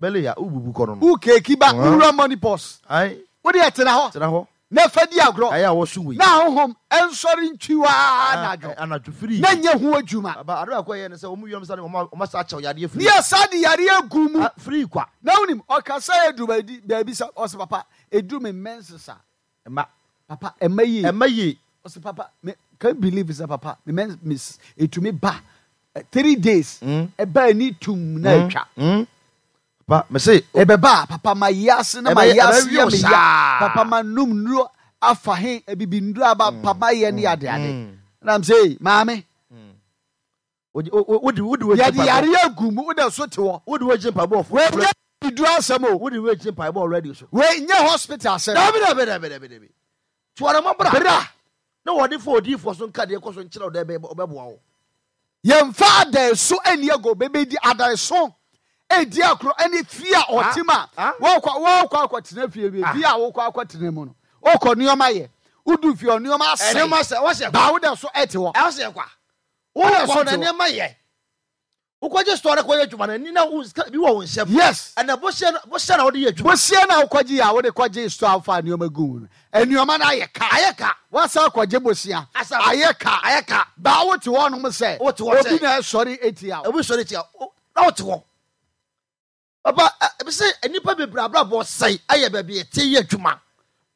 bɛlɛ ya wobubu kɔ no no. Wo keeki ba. Ah. Wowura menopause. Ai. Wode ɛtena hɔ Tena hɔ. na fa di agorɔ. Ayɛ a wɔso wei. Na ahohom ɛnsɔre ntwiwaa anadwo. Anadwo firi. Na nyɛ ho adwuma. Aba ade baako a ɛyɛ ne sɛ ɔmo wiam sa ne ɔmo ɔmo asa akyɛw yadeɛ Ne firi. yɛ sa de yareɛ gu mu. Ah, firi kwa. Na wonim ɔkasa yɛ duru baabi baabi sɛ ɔsɛ papa, ɛduru me menses a, ɛma papa, ɛma yie. Ɛma yie. Ɔsɛ papa, me can't believe sɛ papa, me menses ɛtumi ba eh, three days, Mm. ɛba ani tum na atwa. Mm. Papa, mese Ɛbɛba a, papa, ma yi ase na ma Ɛbɛyɛ- yi ase ɛbɛwe yɛ wo me ya. saa. Papa, ma num nnuro afa he abibi nnuro aba, papa, yɛ ne ade ade. Mm. Nam sɛ, maame, wode wode wode wagye yɛde mpaebɔ. yare agu mu, wode so te hɔ. Wode wagye mpaebɔ ɔfo. Wɔnyɛ biduro asɛm o. Wode wagye mpaebɔ already so. Wei nyɛ hospital asɛm. Dabi dabi dabi dabi dabi, tuara mo bra. Bra. Na wɔde fa odiifoɔ so nka deɛ kɔ so nkyerɛ wo dɛ ɛbɛ- ɔbɛboa wo. Yɛmfa adaeso ani ago bɛbɛdi adaeso edi akorɔ ɛne fie a ɔte mu a Ah. wɔkɔ wɔkɔ akɔtena fie bi, fie a wokɔ akɔtena mu no, wokɔ nneɛma yɛ, wodu fie ɔ nneɛma Ɛnneɛma asɛe. sɛ wɔsɛ Baa wode so ɛte hɔ. Ɛwɔ sɛ kwa Wode wokɔ so na te hɔ. nneɛma yɛ, wokɔgye store no kɔyɛ adwuma no ani na wo sika bi wɔ wo nsɛm. Yes. Ɛnɛ bohyɛ no bohyɛ na wode yɛ adwuma. Bosia na wokɔgye yɛ a wode kɔgye store afa nneɛma gu mu no, nneɛma no ayɛ ka. Ayɛ ka. Wasa akɔgye bosia. Asa- Ayɛ ka. Ayɛ ka. Baa wote hɔ nom sɛ Wote hɔ obi sɛ- na ɛsɔre etia wo. Obi sɔre tia wo- na wote hɔ, papa. Ɛ- ebi sɛ nnipa bebree abrabɔ sɛe ayɛ baabi ɛte yɛ adwuma.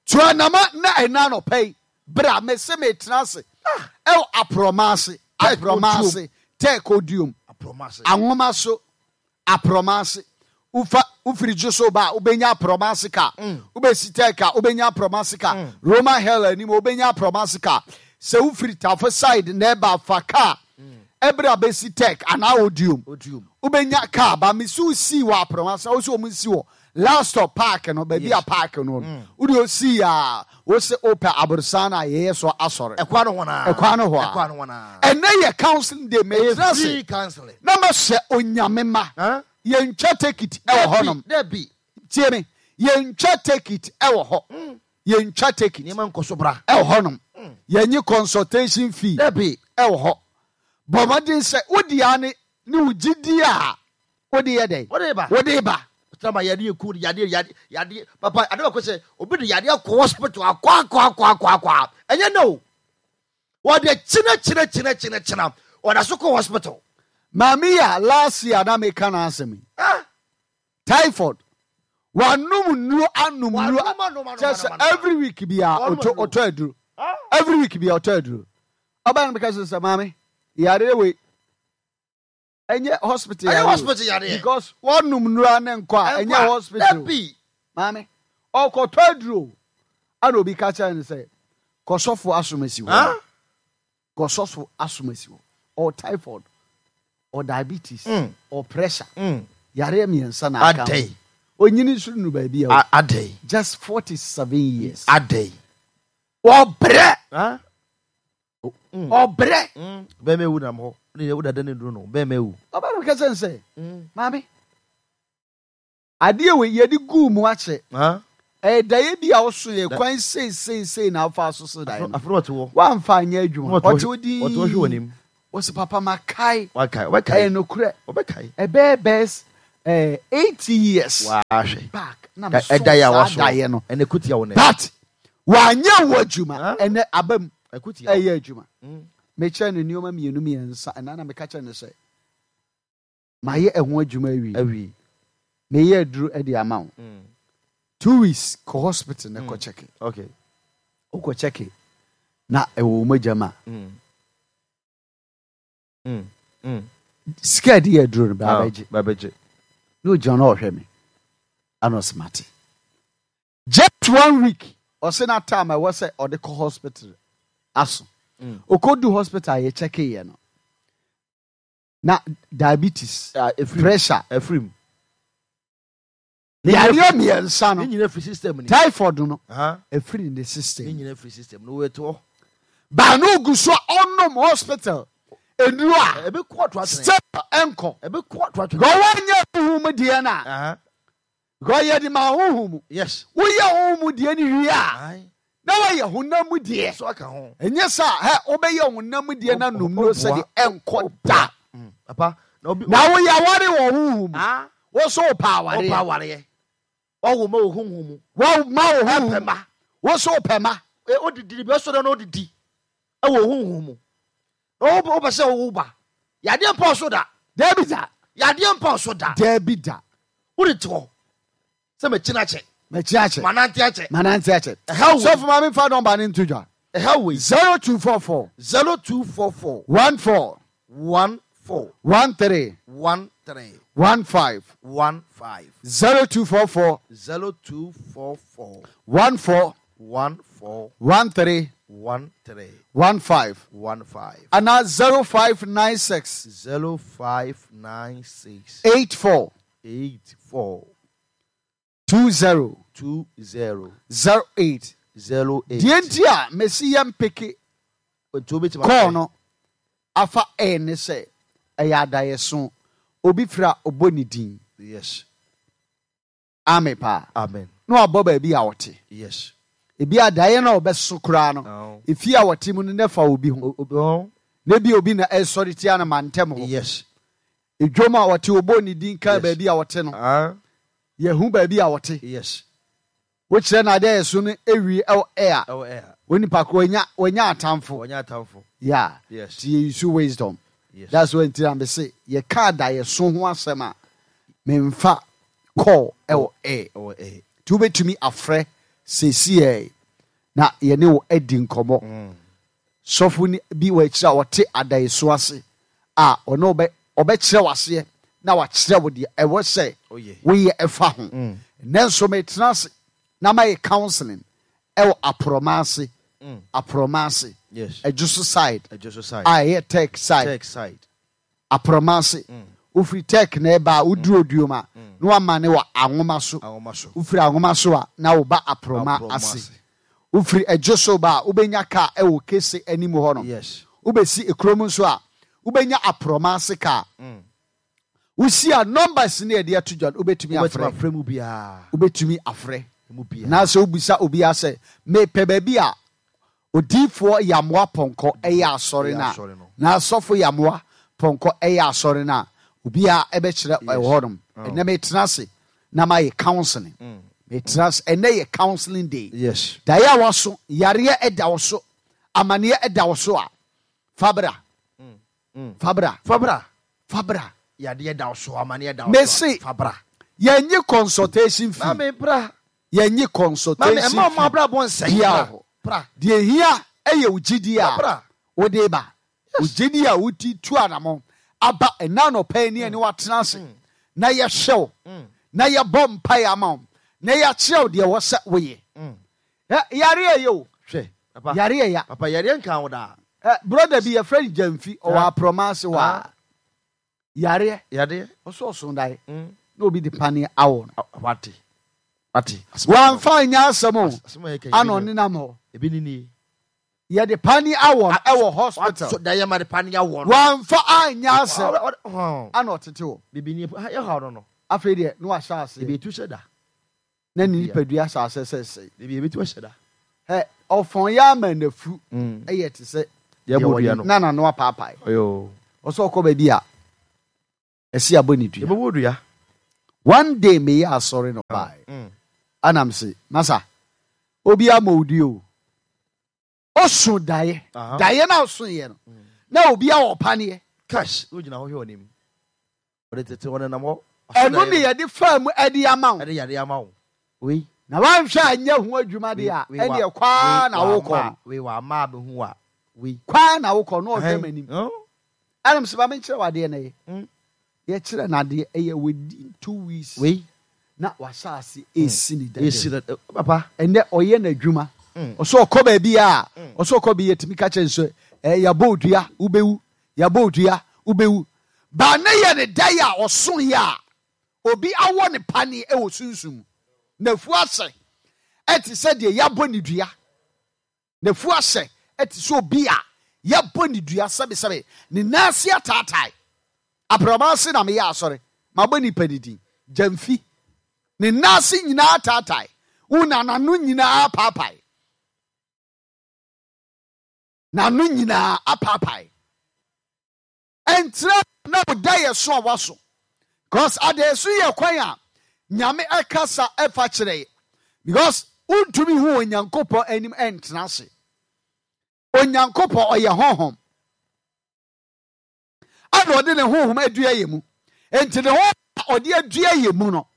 Tuanama na ɛna anɔpa yi bra, mese metena ase ɛwɔ Aprɔma ase. Tech. Aprɔma ase, Tech Odium. Aprɔma ase. Anwoma so, Aprɔma ase. Wofa wofiri gye so ba a, wobɛnya Aprɔma ase ka. Wobɛsi Tech a, wobɛnya Aprɔma ase ka. Roman Hell anim, wobɛnya Aprɔma ase ka. Sɛ wofiri Tafo side na ɛba, fa kaa ɛberɛ a bɛsi Tech anaa Odium. Odium. Wobɛnya kaa ba. Mesi wo sii wɔ Aprɔma ase, wo sɛ ɔmo nsi wɔ last stop park no, baabi a Yes. park no no wode osii a, wo sɛ wopɛ aborosan no a yɛyɛ so asɔre. Ɛkwa no hɔ naa. Ɛkwan no hɔ a. Ɛkwa no hɔ naa. Ɛnɛ yɛ counseling day, mɛtena ase Free counseling. na mahyɛ Onyame ma. Huh? Yɛntwa ticket ɛwɔ hɔnom. Dabi. Tie me, yɛntwa ticket ɛwɔ hɔ, yɛntwa ticket. Nneɛma nkɔ so, bra. Ɛwɔ hɔnom. Yɛnye consultation fee Dabi. ɛwɔ hɔ. Bɔ mmɔden sɛ wode a ne ne wo gyidi a wode yɛ dɛn? Wode ba. Wode ba. Tama yadeɛ ku yadeɛ yadeɛ yadeɛ, papa. Ade baako sɛ obi de yadeɛ kɔ hospital akɔ akɔ akɔ akɔ akɔ a, ɛnyɛ no o, wɔde kyina kyina kyina kyina kyina, ɔda so kɔ hospital. Maame yi a last year na meka no asɛm yi, Ah. typhoid, wanom nnuro, anom nnuro. Wanom, anom, anom, Kyerɛ sɛ anom, anom. every week bia Wanom ɔtɔ aduro. ɔtɔ aduro. Ah. Every week bia ɔtɔ aduro. Ɔbɛn no bɛka sɛ sɛ maame, yareɛ wei ɛnyɛ hospital Ɛnyɛ yareɛ o. hospital yareɛ. Because wɔnom nnuro ne nkɔ a, ɛnyɛ hospital. Dabi. Maame ɔkɔtɔ aduro ana obi ka kyerɛ no sɛ kɔsɔfo asomasi hɔ. Ah. Kɔsɔfo asomasi hɔ. Ɔ typhoid, ɔ diabetes, Mm. ɔ pressure, Mm. yareɛ mmiɛnsa na aka ho. Adɛn? Onyini nso nu baabi a A- adɛn just forty seven years. Adɛn? Ɔbrɛ. Ah? Ɔbrɛ. Bɛrima ewu nam hɔ ne yɛ wodada ne duro no, bɛrima ewu. Ɔbɛn no kɛsɛ nsɛ maame. Adeɛ wei yɛde guu mu akyɛ. Ah. Ɛyɛ daeɛ bi a woso yɛ kwan sei sei sei na afa so so daeɛ no. Afro ɔte hɔ. Wamfa anyɛ adwuma. Ɔte hɔ- Ɔte hɔ din. Ɔte hɔ hwɛ w'anim. Wɔsi papa makae. Wakae. Ɛyɛ Ɔbɛkae. nokorɛ. Ɔbɛkae. Ɛbɛyɛ bɛs ɛɛ eighty years Wahwɛ. back na Da- meso Ɛda yɛ a saa waso. daeɛ no. Ɛna ɛkutia wo nɛ. But wanyɛ wo adwuma. Huh? Ɛnɛ aba mu Ɛkutia wo. ɛyɛ adwuma. Mm. Mekyerɛ no nneɛma mmienu mmiɛnsa ɛna na meka kyerɛ no sɛ mayɛ ɛho adwuma awie. Awie. Meyɛ aduro ɛde ama wo. Mm. Two weeks kɔ hospital na kɔ check. Okay. Wokɔ check na ɛwɔ wo mogya mu a Mm. Mm. Mm. sika a ɛde yɛ aduro no baa bɛgye. Ba bɛgye. Na ogyina na ɔhwɛ me ana ɔsɛ mate. Just one week ɔsɛ na time a ɛwɔ sɛ ɔde kɔ hospital aso. Mm. Okɔdu hospital a yɛkyɛke yɛ no na diabetes, Ah, ɛfiri mu. pressure, Ɛfiri mu. yareɛ mmiɛnsa Ne no, nyinaa firi system ni. typhoid no Aha. ɛfiri ne Ne system. nyinaa firi system no wɔte hɔ. Baa na ogu so a ɔnom hospital nnuro a Ɛbɛ kɔ ato atwene. still ɛnkɔ. Ɛbɛ kɔ ato atwene. Because wɔnyɛ honhom mu deɛ no a Aha. because yɛde ma honhom mu. Yes. Woyɛ honhom mu deɛ no wie a Aye. na wɔyɛ honam mu deɛ. So aka ho. Ɛnyɛ sɛ hɛ wobɛyɛ honam mu deɛ no anom no sɛdeɛ ɛnkɔ da. Mm. Papa na obi. Na woyɛ aware wɔ honhom mu. Ah. Wo so wopɛ Ɔpa awareɛ. awareɛ. Ɔwɔ ma wɔ honhom mu. Wɔma wo honhom Ɛpɛ mu. ma. Wo so wopɛ ma. E odidi bi ɔsɔ dɛ na odidi. Ɛwɔ honhom mu. Na wo wopɛ sɛ wo ba. Yadeɛ mpa ɔso da. Dabi da. Yadeɛ mpa ɔso da. Dabi da. Wode te hɔ. Sɛ mɛkyina akyɛ. Makyi akyɛ. Manante akyɛ. Manante akyɛ. Ɛha wo. Sɔfo ma memfa nɔmba no nto dwa. Ɛha wei. zero two four four Zero two four four one four one four one three one three one five one five zero two four four zero two four four one four one four one three one three one five one five anaa zero five nine six zero five nine six eight four eight four two zero two zero zero eight. zero eight. Deɛ nti a mesi yɛ mpeke Nti wobɛtumi kɔɔ afrɛ. no afa ɛyɛ ne sɛ ɛyɛ adaeɛso obi fira a ɔbɔ ne din Yes. ame paa Amen. na wabɔ baabi a ɔte. Yes. Ebi adaeɛ no a ɔbɛso koraa no No. efie a wɔte mu no ne fa obi ho. O- obi hɔ? Na bi obi na ɛsɔre tia no ma ntɛm hɔ. Yes. Edwom a wɔte ɔbɔ ne din ka Yes. baabi a wɔte no Ah. yɛhu baabi a wɔte. Yes. Wokyerɛ no adeɛ so no ewie ɛwɔ ɛa Ɛwɔ ɛha. onipa ko wanya wanya atamfo. Wɔnyɛ atamfo. Yeah. Yes. Ti yɛ use wisdom. Yes. That's why nti na mese yɛka adaeɛso ho asɛm a memfa call ɛwɔ air. Ɛwɔ ɛha. Nti wobɛtumi afrɛ seesiɛ na yɛne wo adi nkɔmmɔ. Sɔfo ni bi wɔ akyire a ɔte adaeɛso ase a ɔne ɔbɛ ɔbɛkyerɛ wo aseɛ na wakyerɛ wo deɛ ɛwɔ sɛ Oh, yeah. woyɛ ɛfa ho. Nnɛ nso metena ase na mayɛ counseling ɛwɔ aporɔma ase. Aporɔma ase. Yes. Ɛdwo so side. Ɛdwo so side. A ɛyɛ tech side. Tech side. Aporɔma ase. Wofiri tech na ɛba a woduru oduom a na wama ne wɔ anwoma so. Anwoma so. Wofiri anwoma so a na woba aporɔma Aporɔma ase. ase. Wofiri ɛdwo so ba a wobɛnya kaa ɛwɔ kese anim hɔ no. Yes. Wobɛsi ekurom nso a wobɛnya aporɔma ase kaa. Wosi a numbers ne yɛde ato dwa no wobɛtumi Wobɛtumi afrɛ. afrɛ mu biara. Wobɛtumi afrɛ. Mu biara. Na sɛ wobisa obiara sɛ mepɛ baabi a odiifoɔ Yamoa Pɔnkɔ ɛyɛ asɔre Ɛyɛ no a asɔre no. na asɔfo Yamoa Pɔnkɔ ɛyɛ asɔre no a obiara ɛbɛkyerɛ ɛwɔ hɔnom. Ɛnɛ metena ase na mayɛ counseling. Metena ase ɛnɛ yɛ counseling day. Yes. Daeɛ a waso yareɛ ɛda wo so amanneɛ ɛda wo so a fabra. Fabra. Fabra. Fabra. Yadeɛ da wo so amanneɛ da wo so. Mese. Fabra. Yɛnye consultation fee. Maame bra. Yɛnye Maame consultation ɛma ɔmo fee. abrabɔ nsɛe. Bia Bra. hɔ. Bra. Deɛ hia ɛyɛ wo gyidie a Bra. wode ba. Wo gyidie a wodi tu anammɔn aba ɛna anɔpa yi ne ɛne woatena ase na yɛhwɛ wo na yɛbɔ mpaeɛ ama wo na yɛakyerɛ wo deɛ wɔ sɛ woyɛ. Ɛ, yareɛ yɛ o. Hwɛ. Papa. Yareɛ ya. Papa yareɛ nka wo daa. Ɛ, brother bi yɛfrɛ no Gyamfi ɔwɔ Ah. aprɔma ase hɔ a Ah. yareɛ Yadeɛ. ɔso ɔso daeɛ Mm. na obi de paneɛ awɔ no. Ah, Wate. Wate. Wamfa nyɛ asɛm o. Asɛm a yɛka yi, Ana ebi ni- ɔnenam hɔ. Ebi ni nie. Yɛde paneɛ awɔ no ɛwɔ hospital. So daeɛ ma de paneɛ awɔ no. Wamfa anyɛ asɛm. Ɔ- ɔ- ɔ- Ana ɔtete hɔ. Bibi ni ha yɛ ha no no. Afei deɛ na wahyɛ ase. Ebi etu hyɛ da. Na ne nipadua hyɛ ase sɛ sɛe. Ebi ebi tu hyɛ da. Ɛ ɔfɔn yɛ ama n'afu ɛyɛ te sɛ Deɛ bɔ dua no. Na n'ano apaapae. Ɔyɔ. Ɔsɛ ɔkɔ baabi a ɛsi abɔ ne dua. Ebe bɔ dua. One day meyɛ asɔre na ɔbaeɛ. Anam se masa obi ama odi o. Ɔso daeɛ. Daeɛ na ɔso yɛ no. Na obi a ɔpaneɛ. Cash o gyina hɔ hwɛ ɔnim. Ɔde tete ɔne nam hɔ. Ɛno ne yɛde fa mu ɛde ama wo. Ɛde yade ama wo. Wei. Na wanhwɛ anyɛ ho adwuma de a ɛne kwaa na wokɔ. Wei wa ama abɛhu wa. Wei. Kwaa na wokɔ na ɔhwɛ m'anim. Ɛnam sɛ maame nkyerɛ wadeɛ na yɛ. Yɛkyerɛ n'adeɛ ɛyɛ within two weeks. Wei. Na wahyɛ ase esi ne dada. Esi ne papa. Ɛnɛ ɔyɛ n'adwuma. Ɔsɛ ɔkɔ baabi a ɔsɛ ɔkɔ bi yɛtumi ka kyerɛ nso ɛɛ yabɔ odua wobɛwu yabɔ odua wobɛwu. Baa ne yɛ ne da yɛ a ɔso yɛ a obi awɔ ne paneɛ ɛwɔ sunsum. N'afu ahyɛ ɛte sɛ deɛ yabɔ ne dua. N'afu ahyɛ ɛte sɛ obi a yabɔ ne dua sɛbesɛbe ne nan ase ataatae. Aprɔma ase na meyɛ asɔre mabɔ nipa ne din gyamfi. Ne nan ase nyinaa ataatae. Wo na n'ano nyinaa apaapae. N'ano nyinaa apaapae. Ɛnkyerɛ na wo da yɛ so a waso. Because adaeso yɛ kwan a Nyame ɛkasa ɛfa kyerɛ yɛ. Because wontumi hu Onyankopɔn anim ɛntena ase. Onyankopɔn ɔyɛ honhom. Ana ɔde ne honhom adua yɛ mu. Enti ne honhom a ɔde adua yɛ mu no,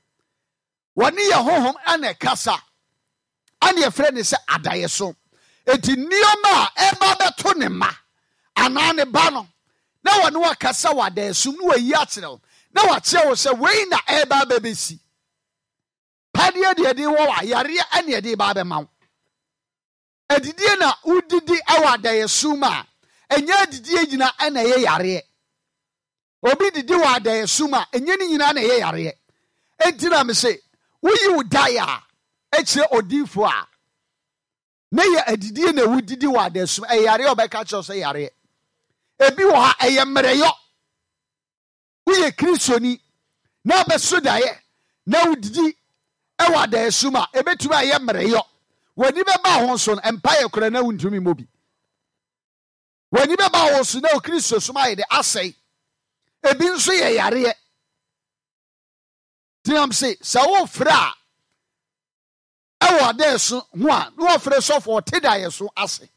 wɔne yɛ honhom ɛna ɛkasa. Ana yɛfrɛ ne sɛ adaeso. Enti nneɛma a ɛba bɛto ne mma anaa ne ba no, na wɔne wakasa wɔ adaeso mu na wayi akyerɛ wo, na wakyerɛ wo sɛ wei na ɛba bɛbɛsi. Padeɛ deɛ ɛde wɔ wa, yareɛ ɛne ɛde ba bɛma wo. Adidie na wodidi ɛwɔ adaeso mu a, ɛnyɛ adidie nyina ɛna ɛyɛ yareɛ. Obi didi wɔ adaeso mu a, ɛnyɛ ne nyinaa na ɛyɛ yareɛ. Enti na mese, woyi wo daeɛ a, ɛkyerɛ odiifoɔ a, na yɛ adidie na wodidi wɔ adaeso mu, ɛyɛ yareɛ a ɔbɛka kyerɛ wo sɛ yareɛ. Ebi wɔ ha, ɛyɛ mmerɛyɔ. Woyɛ Kristoni na abɛso daeɛ na wodidi ɛwɔ adaeso mu a, ebetumi ayɛ mmerɛyɔ. W'ani bɛba ho so no, mpaeɛ koraa na wontumi mmɔ bi. W'ani bɛba ho so na wo Kristo som ayɛ de asɛe. Ebi nso yɛ yareɛ. Tinam se sɛ wofrɛ a ɛwɔ adaeso ho a, na wɔfrɛ sɔfo ɔte daeɛso ase.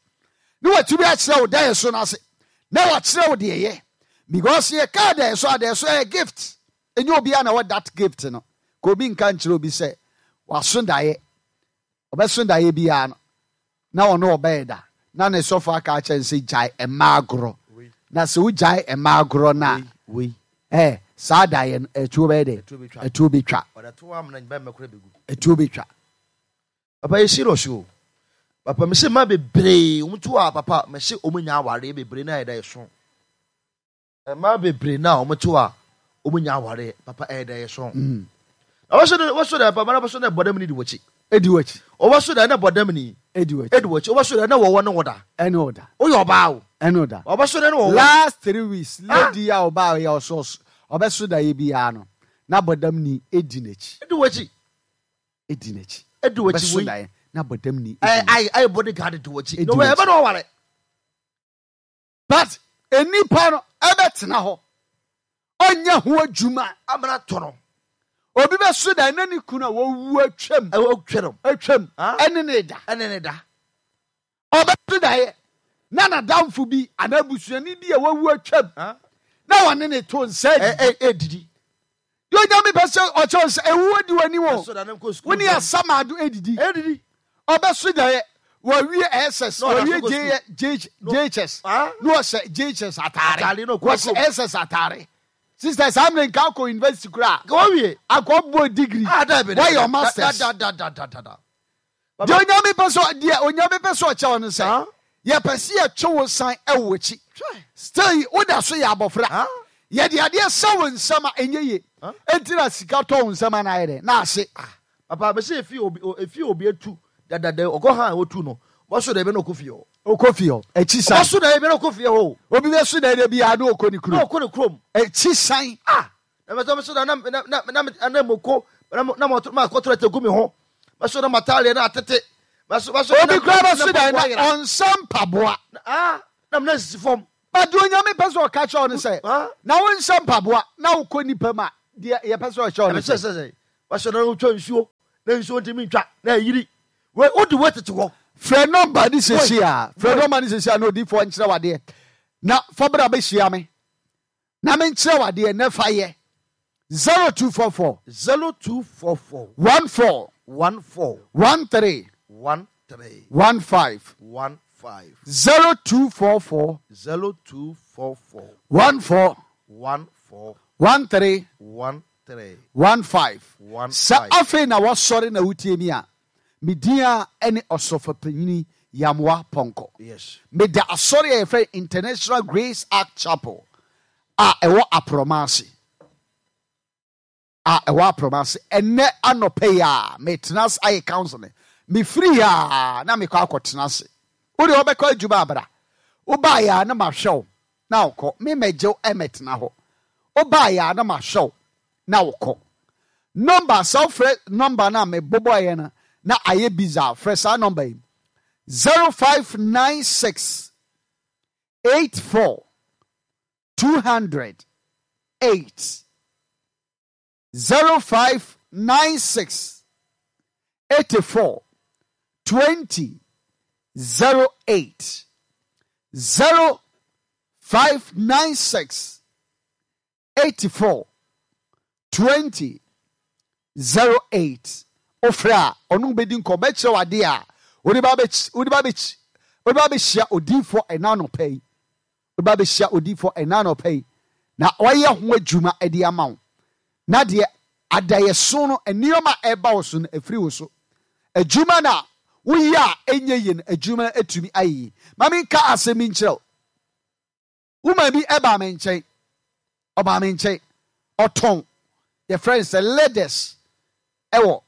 Na watumi akyerɛ wo daeɛso no ase. Na wakyerɛ wo deɛ yɛ. Because yɛka daeɛso a, daeɛso ɛyɛ gift. Ɛnyɛ obiara na wɔ that gift no. Ka obi nka nkyerɛ obi sɛ waso daeɛ. Ɔbɛso daeɛ biara no, na ɔno ɔbɛyɛ da. Na ne sɔfo aka akyerɛ no sɛ gyae mmaa agorɔ. Na sɛ wogyae mmaa agorɔ no a, eh, saa daeɛ no, ɛtuo bɛyɛ dɛ? Ɛtuo bɛtwa. Ɛtuo bɛtwa. Papa yɛ serious o. Papa mese ma bebree wɔn tu a papa mese wɔn nya awareɛ bebree na yɛ da yɛ so. Mmaa bebree na wɔn tu a wɔn nya awareɛ papa ɛyɛ da yɛ so. Na wɔso de wɔso de papa na wɔso de bɔdam ni di wɔkyi. Edi wɔkyi. Wɔso de na bɔdam ni. Edi wɔkyi. Edi wɔkyi. Wɔso de na wɔwɔ ne wɔda. Ɛne ɔda. Oyɛ ɔbaa o. Ɛne ɔda. Wɔso de na wɔwɔ. Last three weeks lady a ɔbaa yɛ ɔso ɔbɛso da yɛ biara no na bɔdam ni edi n'akyi. Edi wɔkyi. Edi n'akyi. Edi wɔkyi Ɔbɛso wei. da yɛ na bɔdam ni. Ɛyɛ ayɛ ayɛ bodyguard di wɔkyi. Edi Na wɔyɛ wɔkyi. ɛbɛ na ɔware. But enipa no ɛbɛtena hɔ. Ɔnyɛ ho adwuma. Amena tɔ no. Obi bɛso da na ne kunu a wɔwu atwam. Ɛwɔ atwam. Atwam. Ah. Ɛne ne da. Ɛne ne da. Ɔbɛso da yɛ na n'adamfo bi anaa abusuani bi a wɔwu atwam. Ah. Na wɔne ne to nsa Ɛ didi. ɛ edidi. Deɛ Onyame pɛ sɛ ɔkyerɛ wo sɛ ɛwuo di w'anim o. Ɛso da ne nkɔ sukuu. Wo ne asamado edidi. Edidi. Ɔbɛso da yɛ wɔwie S S, Na ɔda wɔwie so kɔ J J J H S. Ah. Na ɔhyɛ J H S ataare. Ataare na ɔkɔ Wɔhyɛ kurom. S S ataare. Sister, saa mmerɛ nka akɔ university koraa. Nka wɔwie. Akɔ bɔ degree. Ah, da bi da. Wɔyɛ masters. Da da da da da da. Deɛ Onyame pɛ sɛ deɛ Onyame pɛ sɛ ɔkyɛ wo no sɛ, Ah. yɛpɛ sɛ yɛtwe wo san ɛwɔ akyi. Hwɛ. Still, woda so yɛ abɔfra. Ah. Yɛde adeɛ sɛ wo nsɛm a ɛnyɛ yie. Ah. Enti na sika tɔ wo nsɛm a na ayɛ dɛ, na ase. Papa, mese efi obi efi obi etu dadada ɔkɔ ha a otu no. Wɔso da ebi na ɔkɔ fie hɔ. Ɔkɔ fie hɔ. Akyi san. Wɔso da ebi na ɔkɔ fie hɔ. Obi bɛso da ebi a na ɔkɔ ne Na kurom. ɔkɔ ne kurom. Akyi san. Ah, Na mɛsɛ mɛsɛ na na na na na na moko na na mo ma kɔtɔrɔ te gu mi ho. Mɛsɛ na mataale na atete. Mɛsɛ mɛsɛ Obi kura bɛso dan na ɔnsa mpaboa. Ah, na mena sisi fam. But deɛ Onyame pɛ sɛ ɔka kyerɛ wo no sɛ, Ah. na wonhyɛ mpaboa na wokɔ nipa mu a, deɛ yɛpɛ sɛ ɔkyerɛ wo no Ɛsɛ sɛ, sɛ sɛ mɛsɛ na wotwa nsuo na nsuo ntumi ntwa na ayiri. Wei wode wei tete hɔ. Frɛ nɔmba ne sesi a, frɛ Boy. nɔmba ne sesi a na odiifoɔ nkyerɛ wadeɛ. Na fa bra bɛhyia me. Na menkyerɛ wadeɛ na fa yɛ. zero two four four Zero two four four one four one four one three one three one five one five zero two four four zero two four four one four one four one three one three one five. one Sɛ five. afei na wɔsɔre na wotie mi a, me din a ɛne Ɔsɔfopanyini Yamoa Pɔnkɔ. Yes. Meda asɔre a yɛfrɛ International Grace Ark Chapel a ɛwɔ Aprɔma ase. A ɛwɔ Aprɔma ase. Ɛnnɛ anɔpɛ yi a metena ase ayɛ counseling. Mefiri a na mekɔ akɔtena ase. Wode wɔbɛkɔ adwuma abra. Wobaeɛ a na mahwɛ wo na wokɔ. Memɛgye wo ɛmɛtena hɔ. Wobaeɛ a na mahwɛ wo na wokɔ. Number, sɛ wofrɛ number no a mebobɔeɛ no na ayɛ busy a, frɛ saa number yi. zero five nine six eight four two hundred eight. zero five nine six eighty four twenty zero eight. zero five nine six eighty four twenty zero eight. Ofra ɔno bɛdi nkɔ bɛkyerɛ wade a wode ba bɛkyi, wode ba bɛkyi, wode ba bɛhyia odiifoɔ ɛna anɔpa yi. Wode ba bɛhyia odiifoɔ ɛna anɔpa yi. Na ɔyɛ ho adwuma ɛde ama wo. Na deɛ adayɛso no, nneɛma a ɛba wo so no, ɛfiri wo so. Adwuma na woyɛ a ɛnyɛ yie no, adwuma no atumi ayɛ yie. Ma menka asɛm bi nkyerɛ wo. Woman bi ɛbaa me nkyɛn. Ɔbaa me nkyɛn. Ɔtɔn. Yɛfrɛ no sɛ leathers ɛwɔ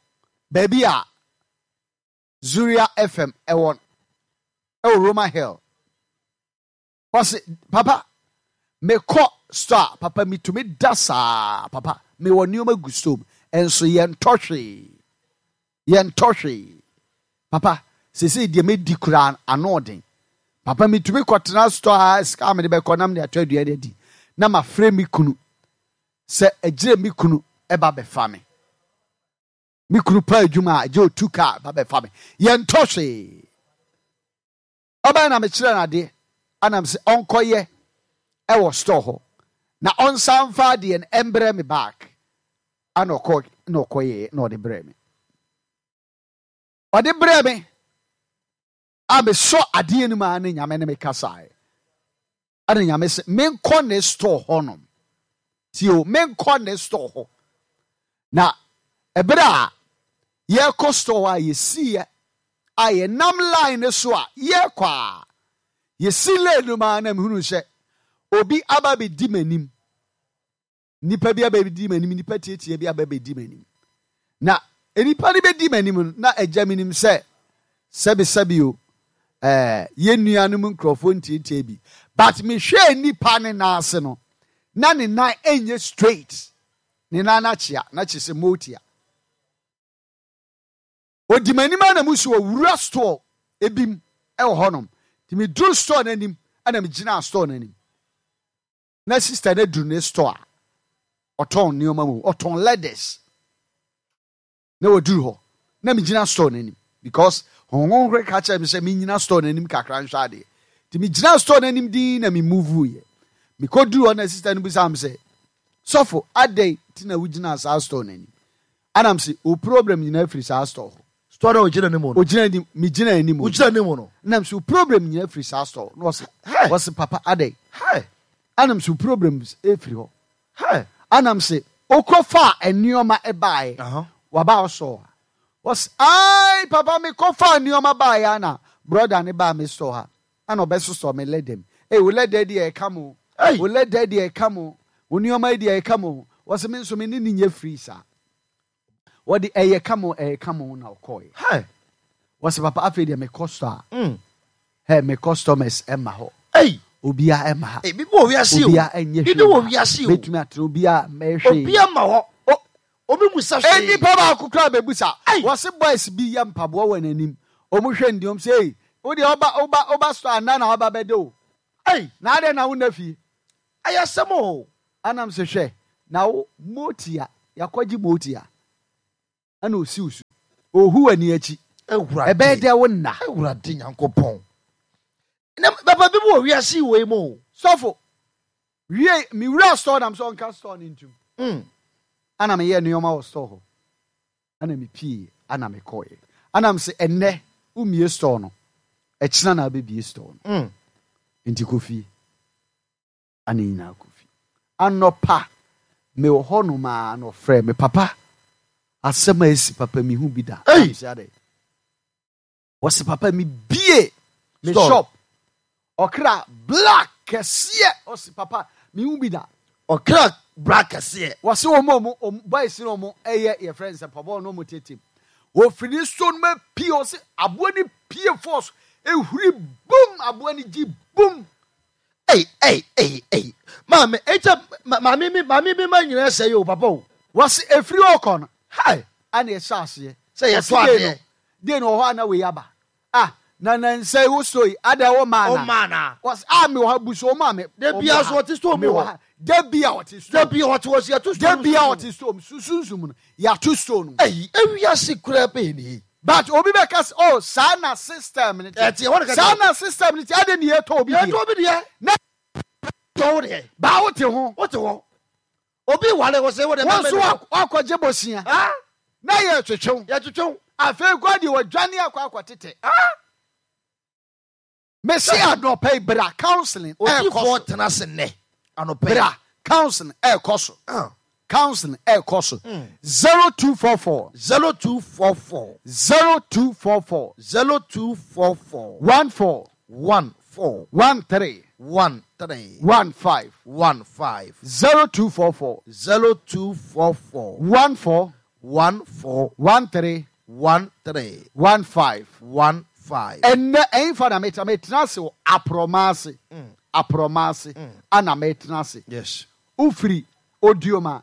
baabi a Zuria F M ɛwɔ, ɛwɔ Roma Hill. Ɔse, papa, mekɔ store, papa, metumi da saa, papa, mewɔ nneɛma gu store mu. Ɛnso yɛntɔ hwee. Yɛntɔ hwee. Papa, seesei deɛ medi koraa ano ɔden. Papa, metumi kɔtena store a sika a mede bɛkɔ na mede atɔ aduane adi. Na mafrɛ me kunu sɛ agyire me kunu ɛba bɛfa me. Me kunu pa adwuma a agye otu kaa ba bɛfa me. Yɛntɔ hwee. Ɔbɛn na mekyerɛ no adeɛ. Anam sɛ ɔnkɔyɛ ɛwɔ store hɔ. Na ɔnsan mfa adeɛ no ɛmbrɛ me back. Ana ɔkɔ na ɔkɔyɛ na ɔde brɛ me. Ɔde brɛ me. A mesɔ adeɛ no mu a ne Nyame ne me kasaeɛ. Ana Nyame sɛ menkɔ ne store hɔ nom. Tio, menkɔ ne store hɔ. Na ɛberɛ a yɛkɔ store a yɛsiiɛ a yɛnam line ne so a yɛkɔ a yɛsi lane no mu a na mehunu sɛ obi aba bɛdi m'anim. Nipa bi aba bɛdi m'anim, nipa tietie bi aba bɛdi m'anim. Na nipa no bɛdi m'anim no, na agya m'anim sɛ sɛbesɛbe o, eh, yɛn nuanom nkurɔfoɔ ntietie bi. But mehwɛɛ nipa ne nan ase no, na ne nan ɛnyɛ straight. Ne nan akyea, na kyerɛ sɛ motia. Odi m'anim a na mu so owura store ebim ɛwɔ hɔnom. Nti meduru store n'anim, ɛna megyina store n'anim. Na sister no duru ne store a ɔtɔn nneɛma mu, ɔtɔn leathers. Na wɔduru hɔ, na megyina store n'anim because Honhom Kronkron ka kyerɛ me sɛ menyina store n'anim kakra nhwɛ adeɛ. Nti megyina store n'anim din na me move yɛ. Mekɔduru hɔ na sister no bisa me sɛ, sɔfo, adɛn nti na wogyina saa store n'anim? Anam sɛ, o problem nyinaa firi saa store hɔ. Store na ogyina anim no. Ogyina anim, megyina anim. Ogyina anim no. Nam sɛ, o problem nyinaa firi saa store. Na ɔse, Hey. ɔse, papa, adɛn? Hey. Anam sɛ, o problem efiri hɔ. Hey. Anam sɛ, okɔfa nneɛma ɛbaeɛ. Uh-huh. Waba ɔsɔ ha. Ɔse, ai, papa, mekɔfa nneɛma baeɛ ana brother ne baa me store ha. Ana ɔbɛsosɔ me leather mu. Ei, wo leather deɛ ɛka mo. Ei. Wo leather deɛ ɛka mo. Wo nneɛma deɛ ɛka mo. Ɔse, me nso me ne ne nyɛ free saa. Wɔde ɛyɛ ka mo, ɛyɛ ka mo na ɔkɔɛ. Hey. Wɔse, papa, afei deɛ me kɔ store a. Mm. Hey, me customers ɛma hɔ. Ei. Obiara ɛma ha. Ebi wɔ wiase o. Obiara ɛnyɛ Bibi wɔ wiase o. Mɛtumi atena obiara mɛhwɛ. Obiara ma hɔ. Obi musa hwee. Nipa baako kora bɛbusa. Ai. Wɔse boys bi yɛ mpaboa wɔ n'anim. Ɔmo hwɛ ndiom sɛ ei, wo deɛ ɔba ɔba ɔba store anaa na ɔba bɛde o. Ai. Na adɛn na wonna fie? Ɛyɛ asɛm o. Anam sɛ hwɛ na wo motia yakɔgye motia ɛna osi wo so. Ohu w'ani akyi. Awurade. Ɛbɛyɛ dɛ wo nna. Awurade Nyankopɔn. Na papa bi wɔ wiase wei mu o. Sɔfo wie mi wura store nam sɛ ɔnka store ne ntum. Mm. Ana meyɛ nneɛma wɔ store hɔ. Ana mepie ana mekɔɛ. Ana m sɛ ɛnnɛ womie store no. Ɛkyena na abɛbie store no. Mm. Nti kɔ fie. Ana nyinaa kɔ fie. Anɔpa mewɔ hɔnom a na ɔfrɛ me, papa, asɛm a esi papa mehu bi da. Ei! Am sɛ adɛn? Wɔse papa mebie me Store. shop. Ɔkra black kɛseɛ. Ɔse papa mehu bi da. Ɔkra black kɛseɛ. Wɔse wɔn a wɔn wɔn boys no wɔn ɛyɛ yɛfrɛ no sɛ pɔbɔ no wɔn tete. Wɔfiri ne store no mu pie, ɔse aboa no pie force ehuri bum, aboa no gyi bum. Ei ei ei ei. Maame ekyɛ maame mi maame bi ma nyinaa sɛ yi o, papa o. Wɔse efiri ɔkɔ no Hai. ana ɛhyɛ aseɛ. Sɛ yɛtɔ Ɔse dee adeɛ. no dee no wɔ hɔ ana wei aba. Ah, na nansa yi wosɔ yi ada ɛwɔ maa O na. maa na. Wɔse ah, mi wɔ ha busu o maa mi. Da bia so ɔte store mu Mi wɔ hɔ. ha. Da bia ɔte store. Da bia ɔte hɔ so yɛto store Da bia ɔte store mu susunsum no yɛato store no mu. Ei, ewiase kura bɛyɛ ni. But obi bɛka sɛ, oh, saa na system ne te. Ɛte ɛhɔ na ka Saa na system ne te, ade ne yɛtɔ obi Yɛtɔ deɛ. obi deɛ. Na Tɔ wo deɛ. Baa wote ho. Wote hɔ. Obi wale wɔ sɛ wo deɛ. Wɔn nso wakɔ- wakɔgye bosia. Ah, Na yɛ twetwew. yɛtwetwew. Afei kɔ deɛ wɔdwane akɔ akɔtete. Ah, Mesi anɔpa yi bra counseling ɛɛkɔ odiifoɔ so. tena ase nnɛ anɔpa yi. Bra counseling ɛɛkɔ so. Ah. Counseling ɛɛkɔ so. Zero two four four. Zero two four four. Zero two four four. Zero two four four. One four. One four. One three. One three. One five. One five. Zero two four four. Zero two four four. One four. One four. One three. One three. One five. One five. Ɛnɛ ɛnfa na mɛtena mɛtena ase wɔ aprɔma ase. Aprɔma ase ana mɛtena ase. Yes. Wofiri Odioma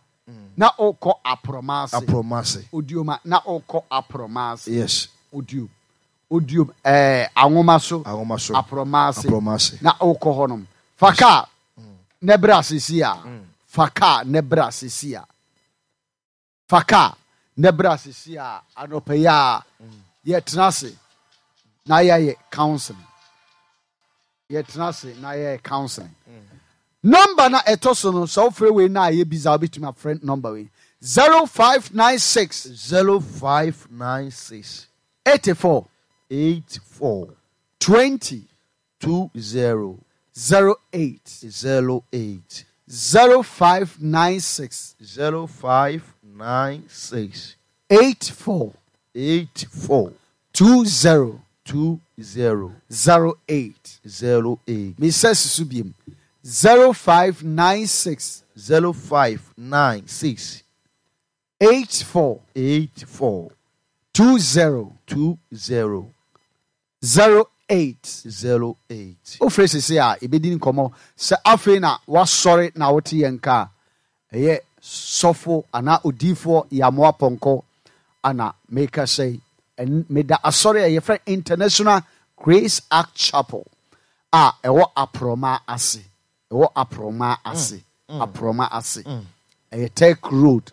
na ɔkɔ aprɔma ase. Apromase. Odioma na ɔkɔ aprɔma ase. Yes. Odiom. Odiom ɛɛ anwoma so. Anwoma so. Aprɔma ase. Aprɔma ase. Na ɔkɔ hɔnom. Fa kaa ne bra sisi a. Fa kaa ne bra sisi a. Fa kaa ne bra sisi a, anɔpa yi a yɛtena ase na yɛayɛ counseling. Yɛtena ase na yɛyɛ counseling. Number na ɛtɔ so no, sɛ wofrɛ wei na ayɛ busy a, wobɛtumi afrɛ number wei: zero five nine six Zero five nine six. eighty-four Eight four. twenty Two zero. zero eight. Zero eight. zero five nine six Zero five nine six. eight four Eight four. two zero Two zero. zero eight. Zero eight. Mesɛ susu biem: zero five nine six Zero five nine six. eight four Eight four. two zero Two zero. zero eight. Zero eight. Wofrɛ sese a ɛbɛdi nkɔmmɔ. Sɛ afei na wasɔre na wote yɛn ka a, ɛyɛ sɔfo anaa odiifoɔ Yamoa Pɔnkɔ ana meka sɛ ɛn- meda asɔre a yɛfrɛ International Grace Ark Chapel a ɛwɔ Aprɔma ase, ɛwɔ Aprɔma ase, Aprɔma ase, ɛyɛ Tech Road.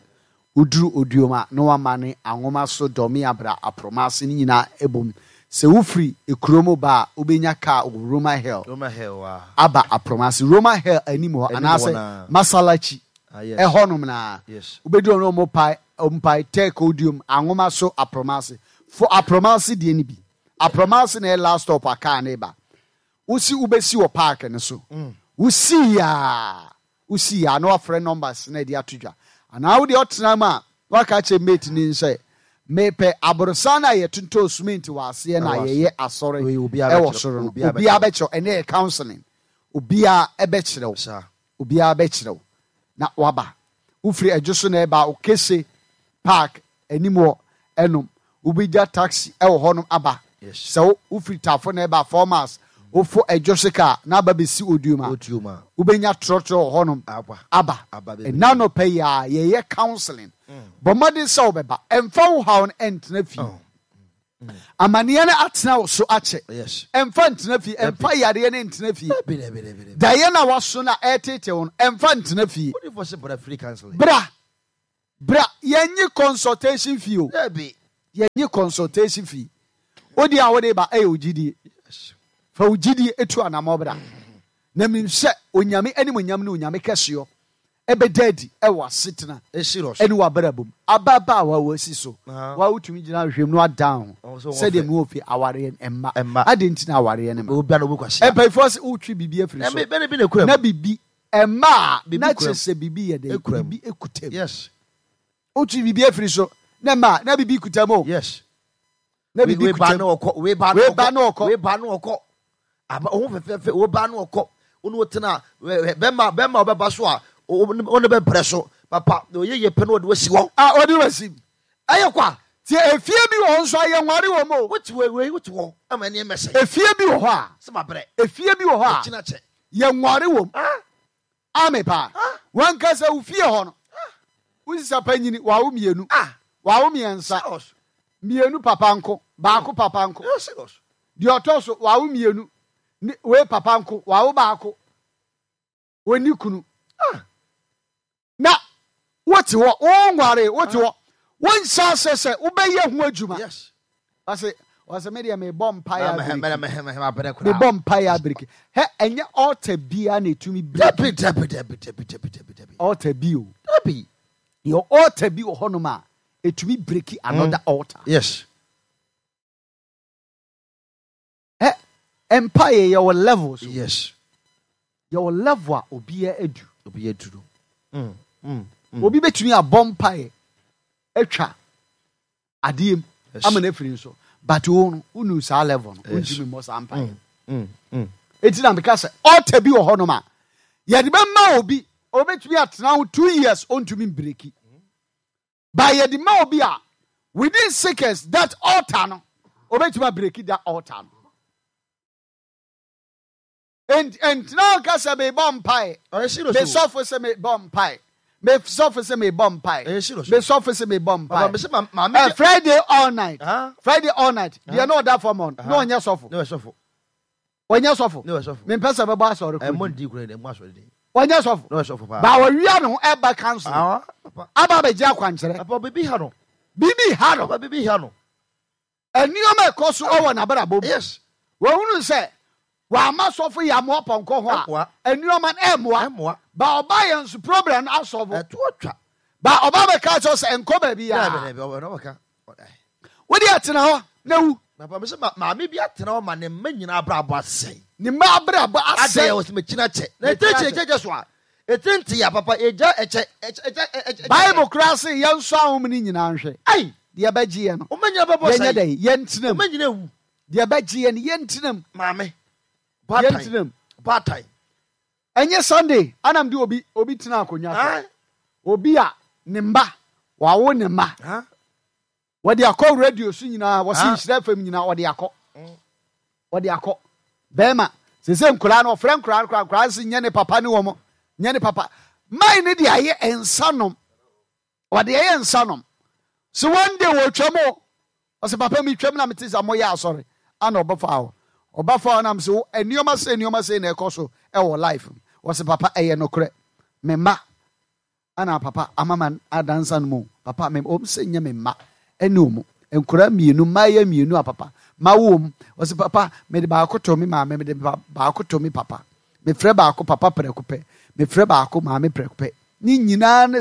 Woduru Odioma na wama ne anwoma so dɔme abra Aprɔma ase no nyinaa ɛbom. Sɛ wofiri ekurom ba a, wobɛnya kaa wɔ Roma Hill Roma Hill wa. aba Aprɔma ase, Roma Hill anim hɔ. Anim hɔ Anaasɛ naa. Masalachi Ah, yes. ɛhɔnom naa Yes. wobɛduru ɔno ɔmo pae ɔmpae Tech Odiom anwoma so Aprɔma ase fo. Aprɔma ase deɛ no bi, Aprɔma ase na ɛyɛ last stop a kaa ne ba. Wosi wobɛsi wɔ park no so, wosi yaa wosi yaa na wafrɛ numbers na ɛde ato dwa, anaa wode ɔtena mu a waka kyerɛ mate ni sɛ mepɛ aborosan no a yɛtontɔn cement wɔ aseɛ na Ɛwɔ ase. yɛyɛ asɔre Wei, obiara ɛwɔ bɛkyerɛ- soro no. Obiara. Obiara bɛkyerɛw. Ɛne yɛ counseling, obiara ɛbɛkyerɛw. Saa. Obiara bɛkyerɛw na waba. Wofiri Adwo so na ɛba Okese Park anim hɔ ɛnom, wobɛgya taxi ɛwɔ hɔnom aba. Yes. Sɛ wo- wofiri Tafo na ɛba Four Miles. Wofo ɛdwo sika na aba bɛsi Oduom a, Oduom a wobɛnya trɔtrɔ wɔ hɔnom. Aba. Aba. Aba bebree. Ɛna nɔpɛ yi a yɛyɛ counseling. Bɔ mmɔden sɛ wobɛba. Ɛmfa wo haw no ɛntena fie. Oh. Amanneɛ no atena wo so akyɛ. Yes. Ɛmfa ntena fie. Ɛmfa yareɛ no ntena fie. Dabi, dabi, dabi, dabi. Daeɛ no a waso no a ɛretete wo no, ɛmfa ntena fie. Odiyifoɔ sɛ bra free counseling. Bra. Bra. Yɛnye consultation fee o. Dabi. Yɛnye consultation fee. Wode a wode ba ɛyɛ wo gyidie. Yes. Fa wo gyidie etu anammɔ bra. Na menim sɛ Onyame animuonyam ne Onyame kɛseɛ ɛbɛda adi ɛwɔ asetena It's serious. ɛne w'abrabɔ mu. Ababaawa wasi so. Ah. Wa wotumi gyina ahwehwɛ mu na wadan ho. Ɔwɔ sɛ wɔn Sɛdeɛ fɛ. mewɔ fie awareɛ no ɛmma. Ɛmma. Adɛn nti na awareɛ no mma? Obi a na obi kwasia. Mpanyinfoɔ sɛ wotwe biribi afiri so. Ɛmi bɛni bi na ekura mu. Na biribi ɛmma a Biribi na kura kyerɛ sɛ biribi yɛ dɛ. Ekura mu. Biribi ekuta mu. Yes. Wotwe biribi afiri so na ɛmma a na biribi kuta mu o. Yes. Na biribi Wei ba kuta na mu. ɔkɔ. Wei ba na Wei ba ɔkɔ. na ɔkɔ. Wei ba na ɔkɔ. Aba ohun fɛfɛɛfɛ. Wei ba na ɔkɔ. Onu otena bɛma bɛma ɔbɛba so a o ne bɛ brɛ so. Papa na oyɛ yɛ pɛ na ɔde wasi hɔ. A ɔde wasi. Ɛyɛ kwa. Tie, efie bi wɔ hɔ nso a yɛnware wɔ mu o. Wote wei wei wote hɔ ama ɛne mɛsɛ. Efie bi wɔ hɔ a. Sɛ ma brɛ. Efie bi wɔ hɔ a. Ɛkyina kyɛ. Yɛnware wɔ mu. Ah. Ame paa. Ah. Wankasa wo fie hɔ no. Wosisa panyini wawo mmienu. Ah. Wawo mmiɛnsa. Serious. Mmienu papa nko. Baako papa nko. Yeah, serious. Deɛ ɔtɔ so wawo mmienu. Ne wei papa nko. Wawo baako. Wɔnni kunu. Ah. Na wote hɔ, wonware, wote hɔ. Wonhyɛ ase sɛ wobɛyɛ ho adwuma. Yes. Ɔse, ɔse me deɛ mebɔ mpaeɛ Na mɛ abiriki. mɛ mɛ mɛ brɛ koraa. Mebɔ mpaeɛ abiriki. Hɛ, ɛnyɛ altar biara na ɛtumi break. Dabi dabi dabi dabi dabi dabi dabi. Altar bi o. Dabi. Yɛ altar bi wɔ hɔnom a ɛtumi break another altar. Yes. Hɛ, mpaeɛ yɛwɔ levels o. Yes. Yɛwɔ level a obiara adu. Obi yɛ duro. Mm. Mm. Mm. Obi bɛtumi abɔ mpaeɛ atwa adeɛ mu Yes. ama no afiri nso. But wo no, wonu saa level no, Yes. wontumi mmɔ saa mpaeɛ. Mm. Mm. Enti na meka sɛ altar bi wɔ hɔnom a yɛde bɛma obi, obɛtumi atena ho two years ɔntumi mbreak. But yɛde ma obi a within seconds that altar no, obɛtumi abreak that altar no. Ent ɛntena nka sɛ mebɔ mpaeɛ. Ɔyɛ serious o. Mesɔfo sɛ mebɔ mpaeɛ. Mesɔfo sɛ mebɔ mpaeɛ. Ɛyɛ serious o. Mesɔfo sɛ mebɔ Papa mpaeɛ. mɛ sɛ ma maame. Eh, Friday all night. Ah. Friday all night. Deɛ na ɔda fam hɔ no, na ɔnyɛ sɔfo. Ne wɛ sɔfo. Ɔnyɛ sɔfo. Ne wɛ sɔfo. Mempɛ sɛ bɛbɔ asɔre Ɛmɔ kuro. ndi kura ɛmɔ asɔre di. Ɔnyɛ sɔfo. Ne wɛ sɔfo paa. Ba wɔwia ne ho ɛba council. Ah. Papa. Aba abɛgye akwankyerɛ. Papa bibi ha no. Biribi ha no. Papa bibi ha no. Nneɛma ɛkɔ so ɛwɔ n'abrabɔ mu. Yes. Wɔhunu sɛ wama sɔfo yɛ amoa pɔnkɔ ho a Ɛmmoa. nneɛma no ɛmmoa. Ɛmmoa. Ba ɔba yɛn nso problem no asɔfo. Ɛto atwa. Ba ɔba bɛka kyerɛ sɛ nkɔ baabi Dabi a. dabi ɔbɛ na ɔka. Wode atena hɔ na wu. Papa mɛ sɛ ma maame bi atena hɔ ma ne mma nyinaa abrabɔ asɛe. Ne mma abrabɔ Adɛ asɛe. wɔ sɛ mɛkyina kyɛ. Na Mɛkyina ɛtɛ kyɛ kyɛ. ɛkyɛ kyɛ so a. Ɛtɛ nti ya papa ɛgya ɛkyɛ ɛkyɛ ɛkyɛ ɛkyɛ. Bible koraa se yɛnsɔ ahom no nyinaa nhwɛ. Ayi. Deɛ ɛbɛgye yɛ no. Ɔmɛ nyinaa bɛbɔ Yɛnyɛ sɛe. dɛn? Yɛntena mu. Ɔmɛ nyinaa wu. Deɛ ɛbɛgye yɛ no yɛntena mu. Maame. Yɛntena mu. Baatan. Ɛnyɛ Sunday anam de obi obi tena akonnwa so. Ah. Obi a ne mma wawo ne mma. Ah. Wɔde akɔ radio so nyinaa wɔsi Ah. nhyira fam nyinaa wɔde akɔ. Wɔde akɔ. Bɛrima sese nkoraa no ɔfrɛ nkoraa no koraa nkoraa no si nyɛ ne papa ne wɔn nyɛ ne papa. Mine ne de ayɛ nsa nom. Wɔde ayɛ nsa nom. So one day wɔtwam o. Ɔsɛ papa mi twam na mi ti sɛ mo yɛ asɔre. Ana ɔbɛfa hɔ. Ɔbɛfa hɔ nam sɛ nneɛma sɛ nneɛma sɛ na ɛkɔ so ɛwɔ life mu. Wɔsɛ papa ɛyɛ nokorɛ. Me mma ana papa ama ma adansa no mu. Papa me ɔm sɛ nyɛ me mma ɛne ɔmo. Nkwadaa mmienu mmaayɛ mmienu a papa ma wo mu. Wɔsɛ papa mede baako to me maame mede baako to me papa. Mefrɛ baako papa prɛko pɛ. Mefrɛ baako maame prɛko pɛ. Ne nyinaa ne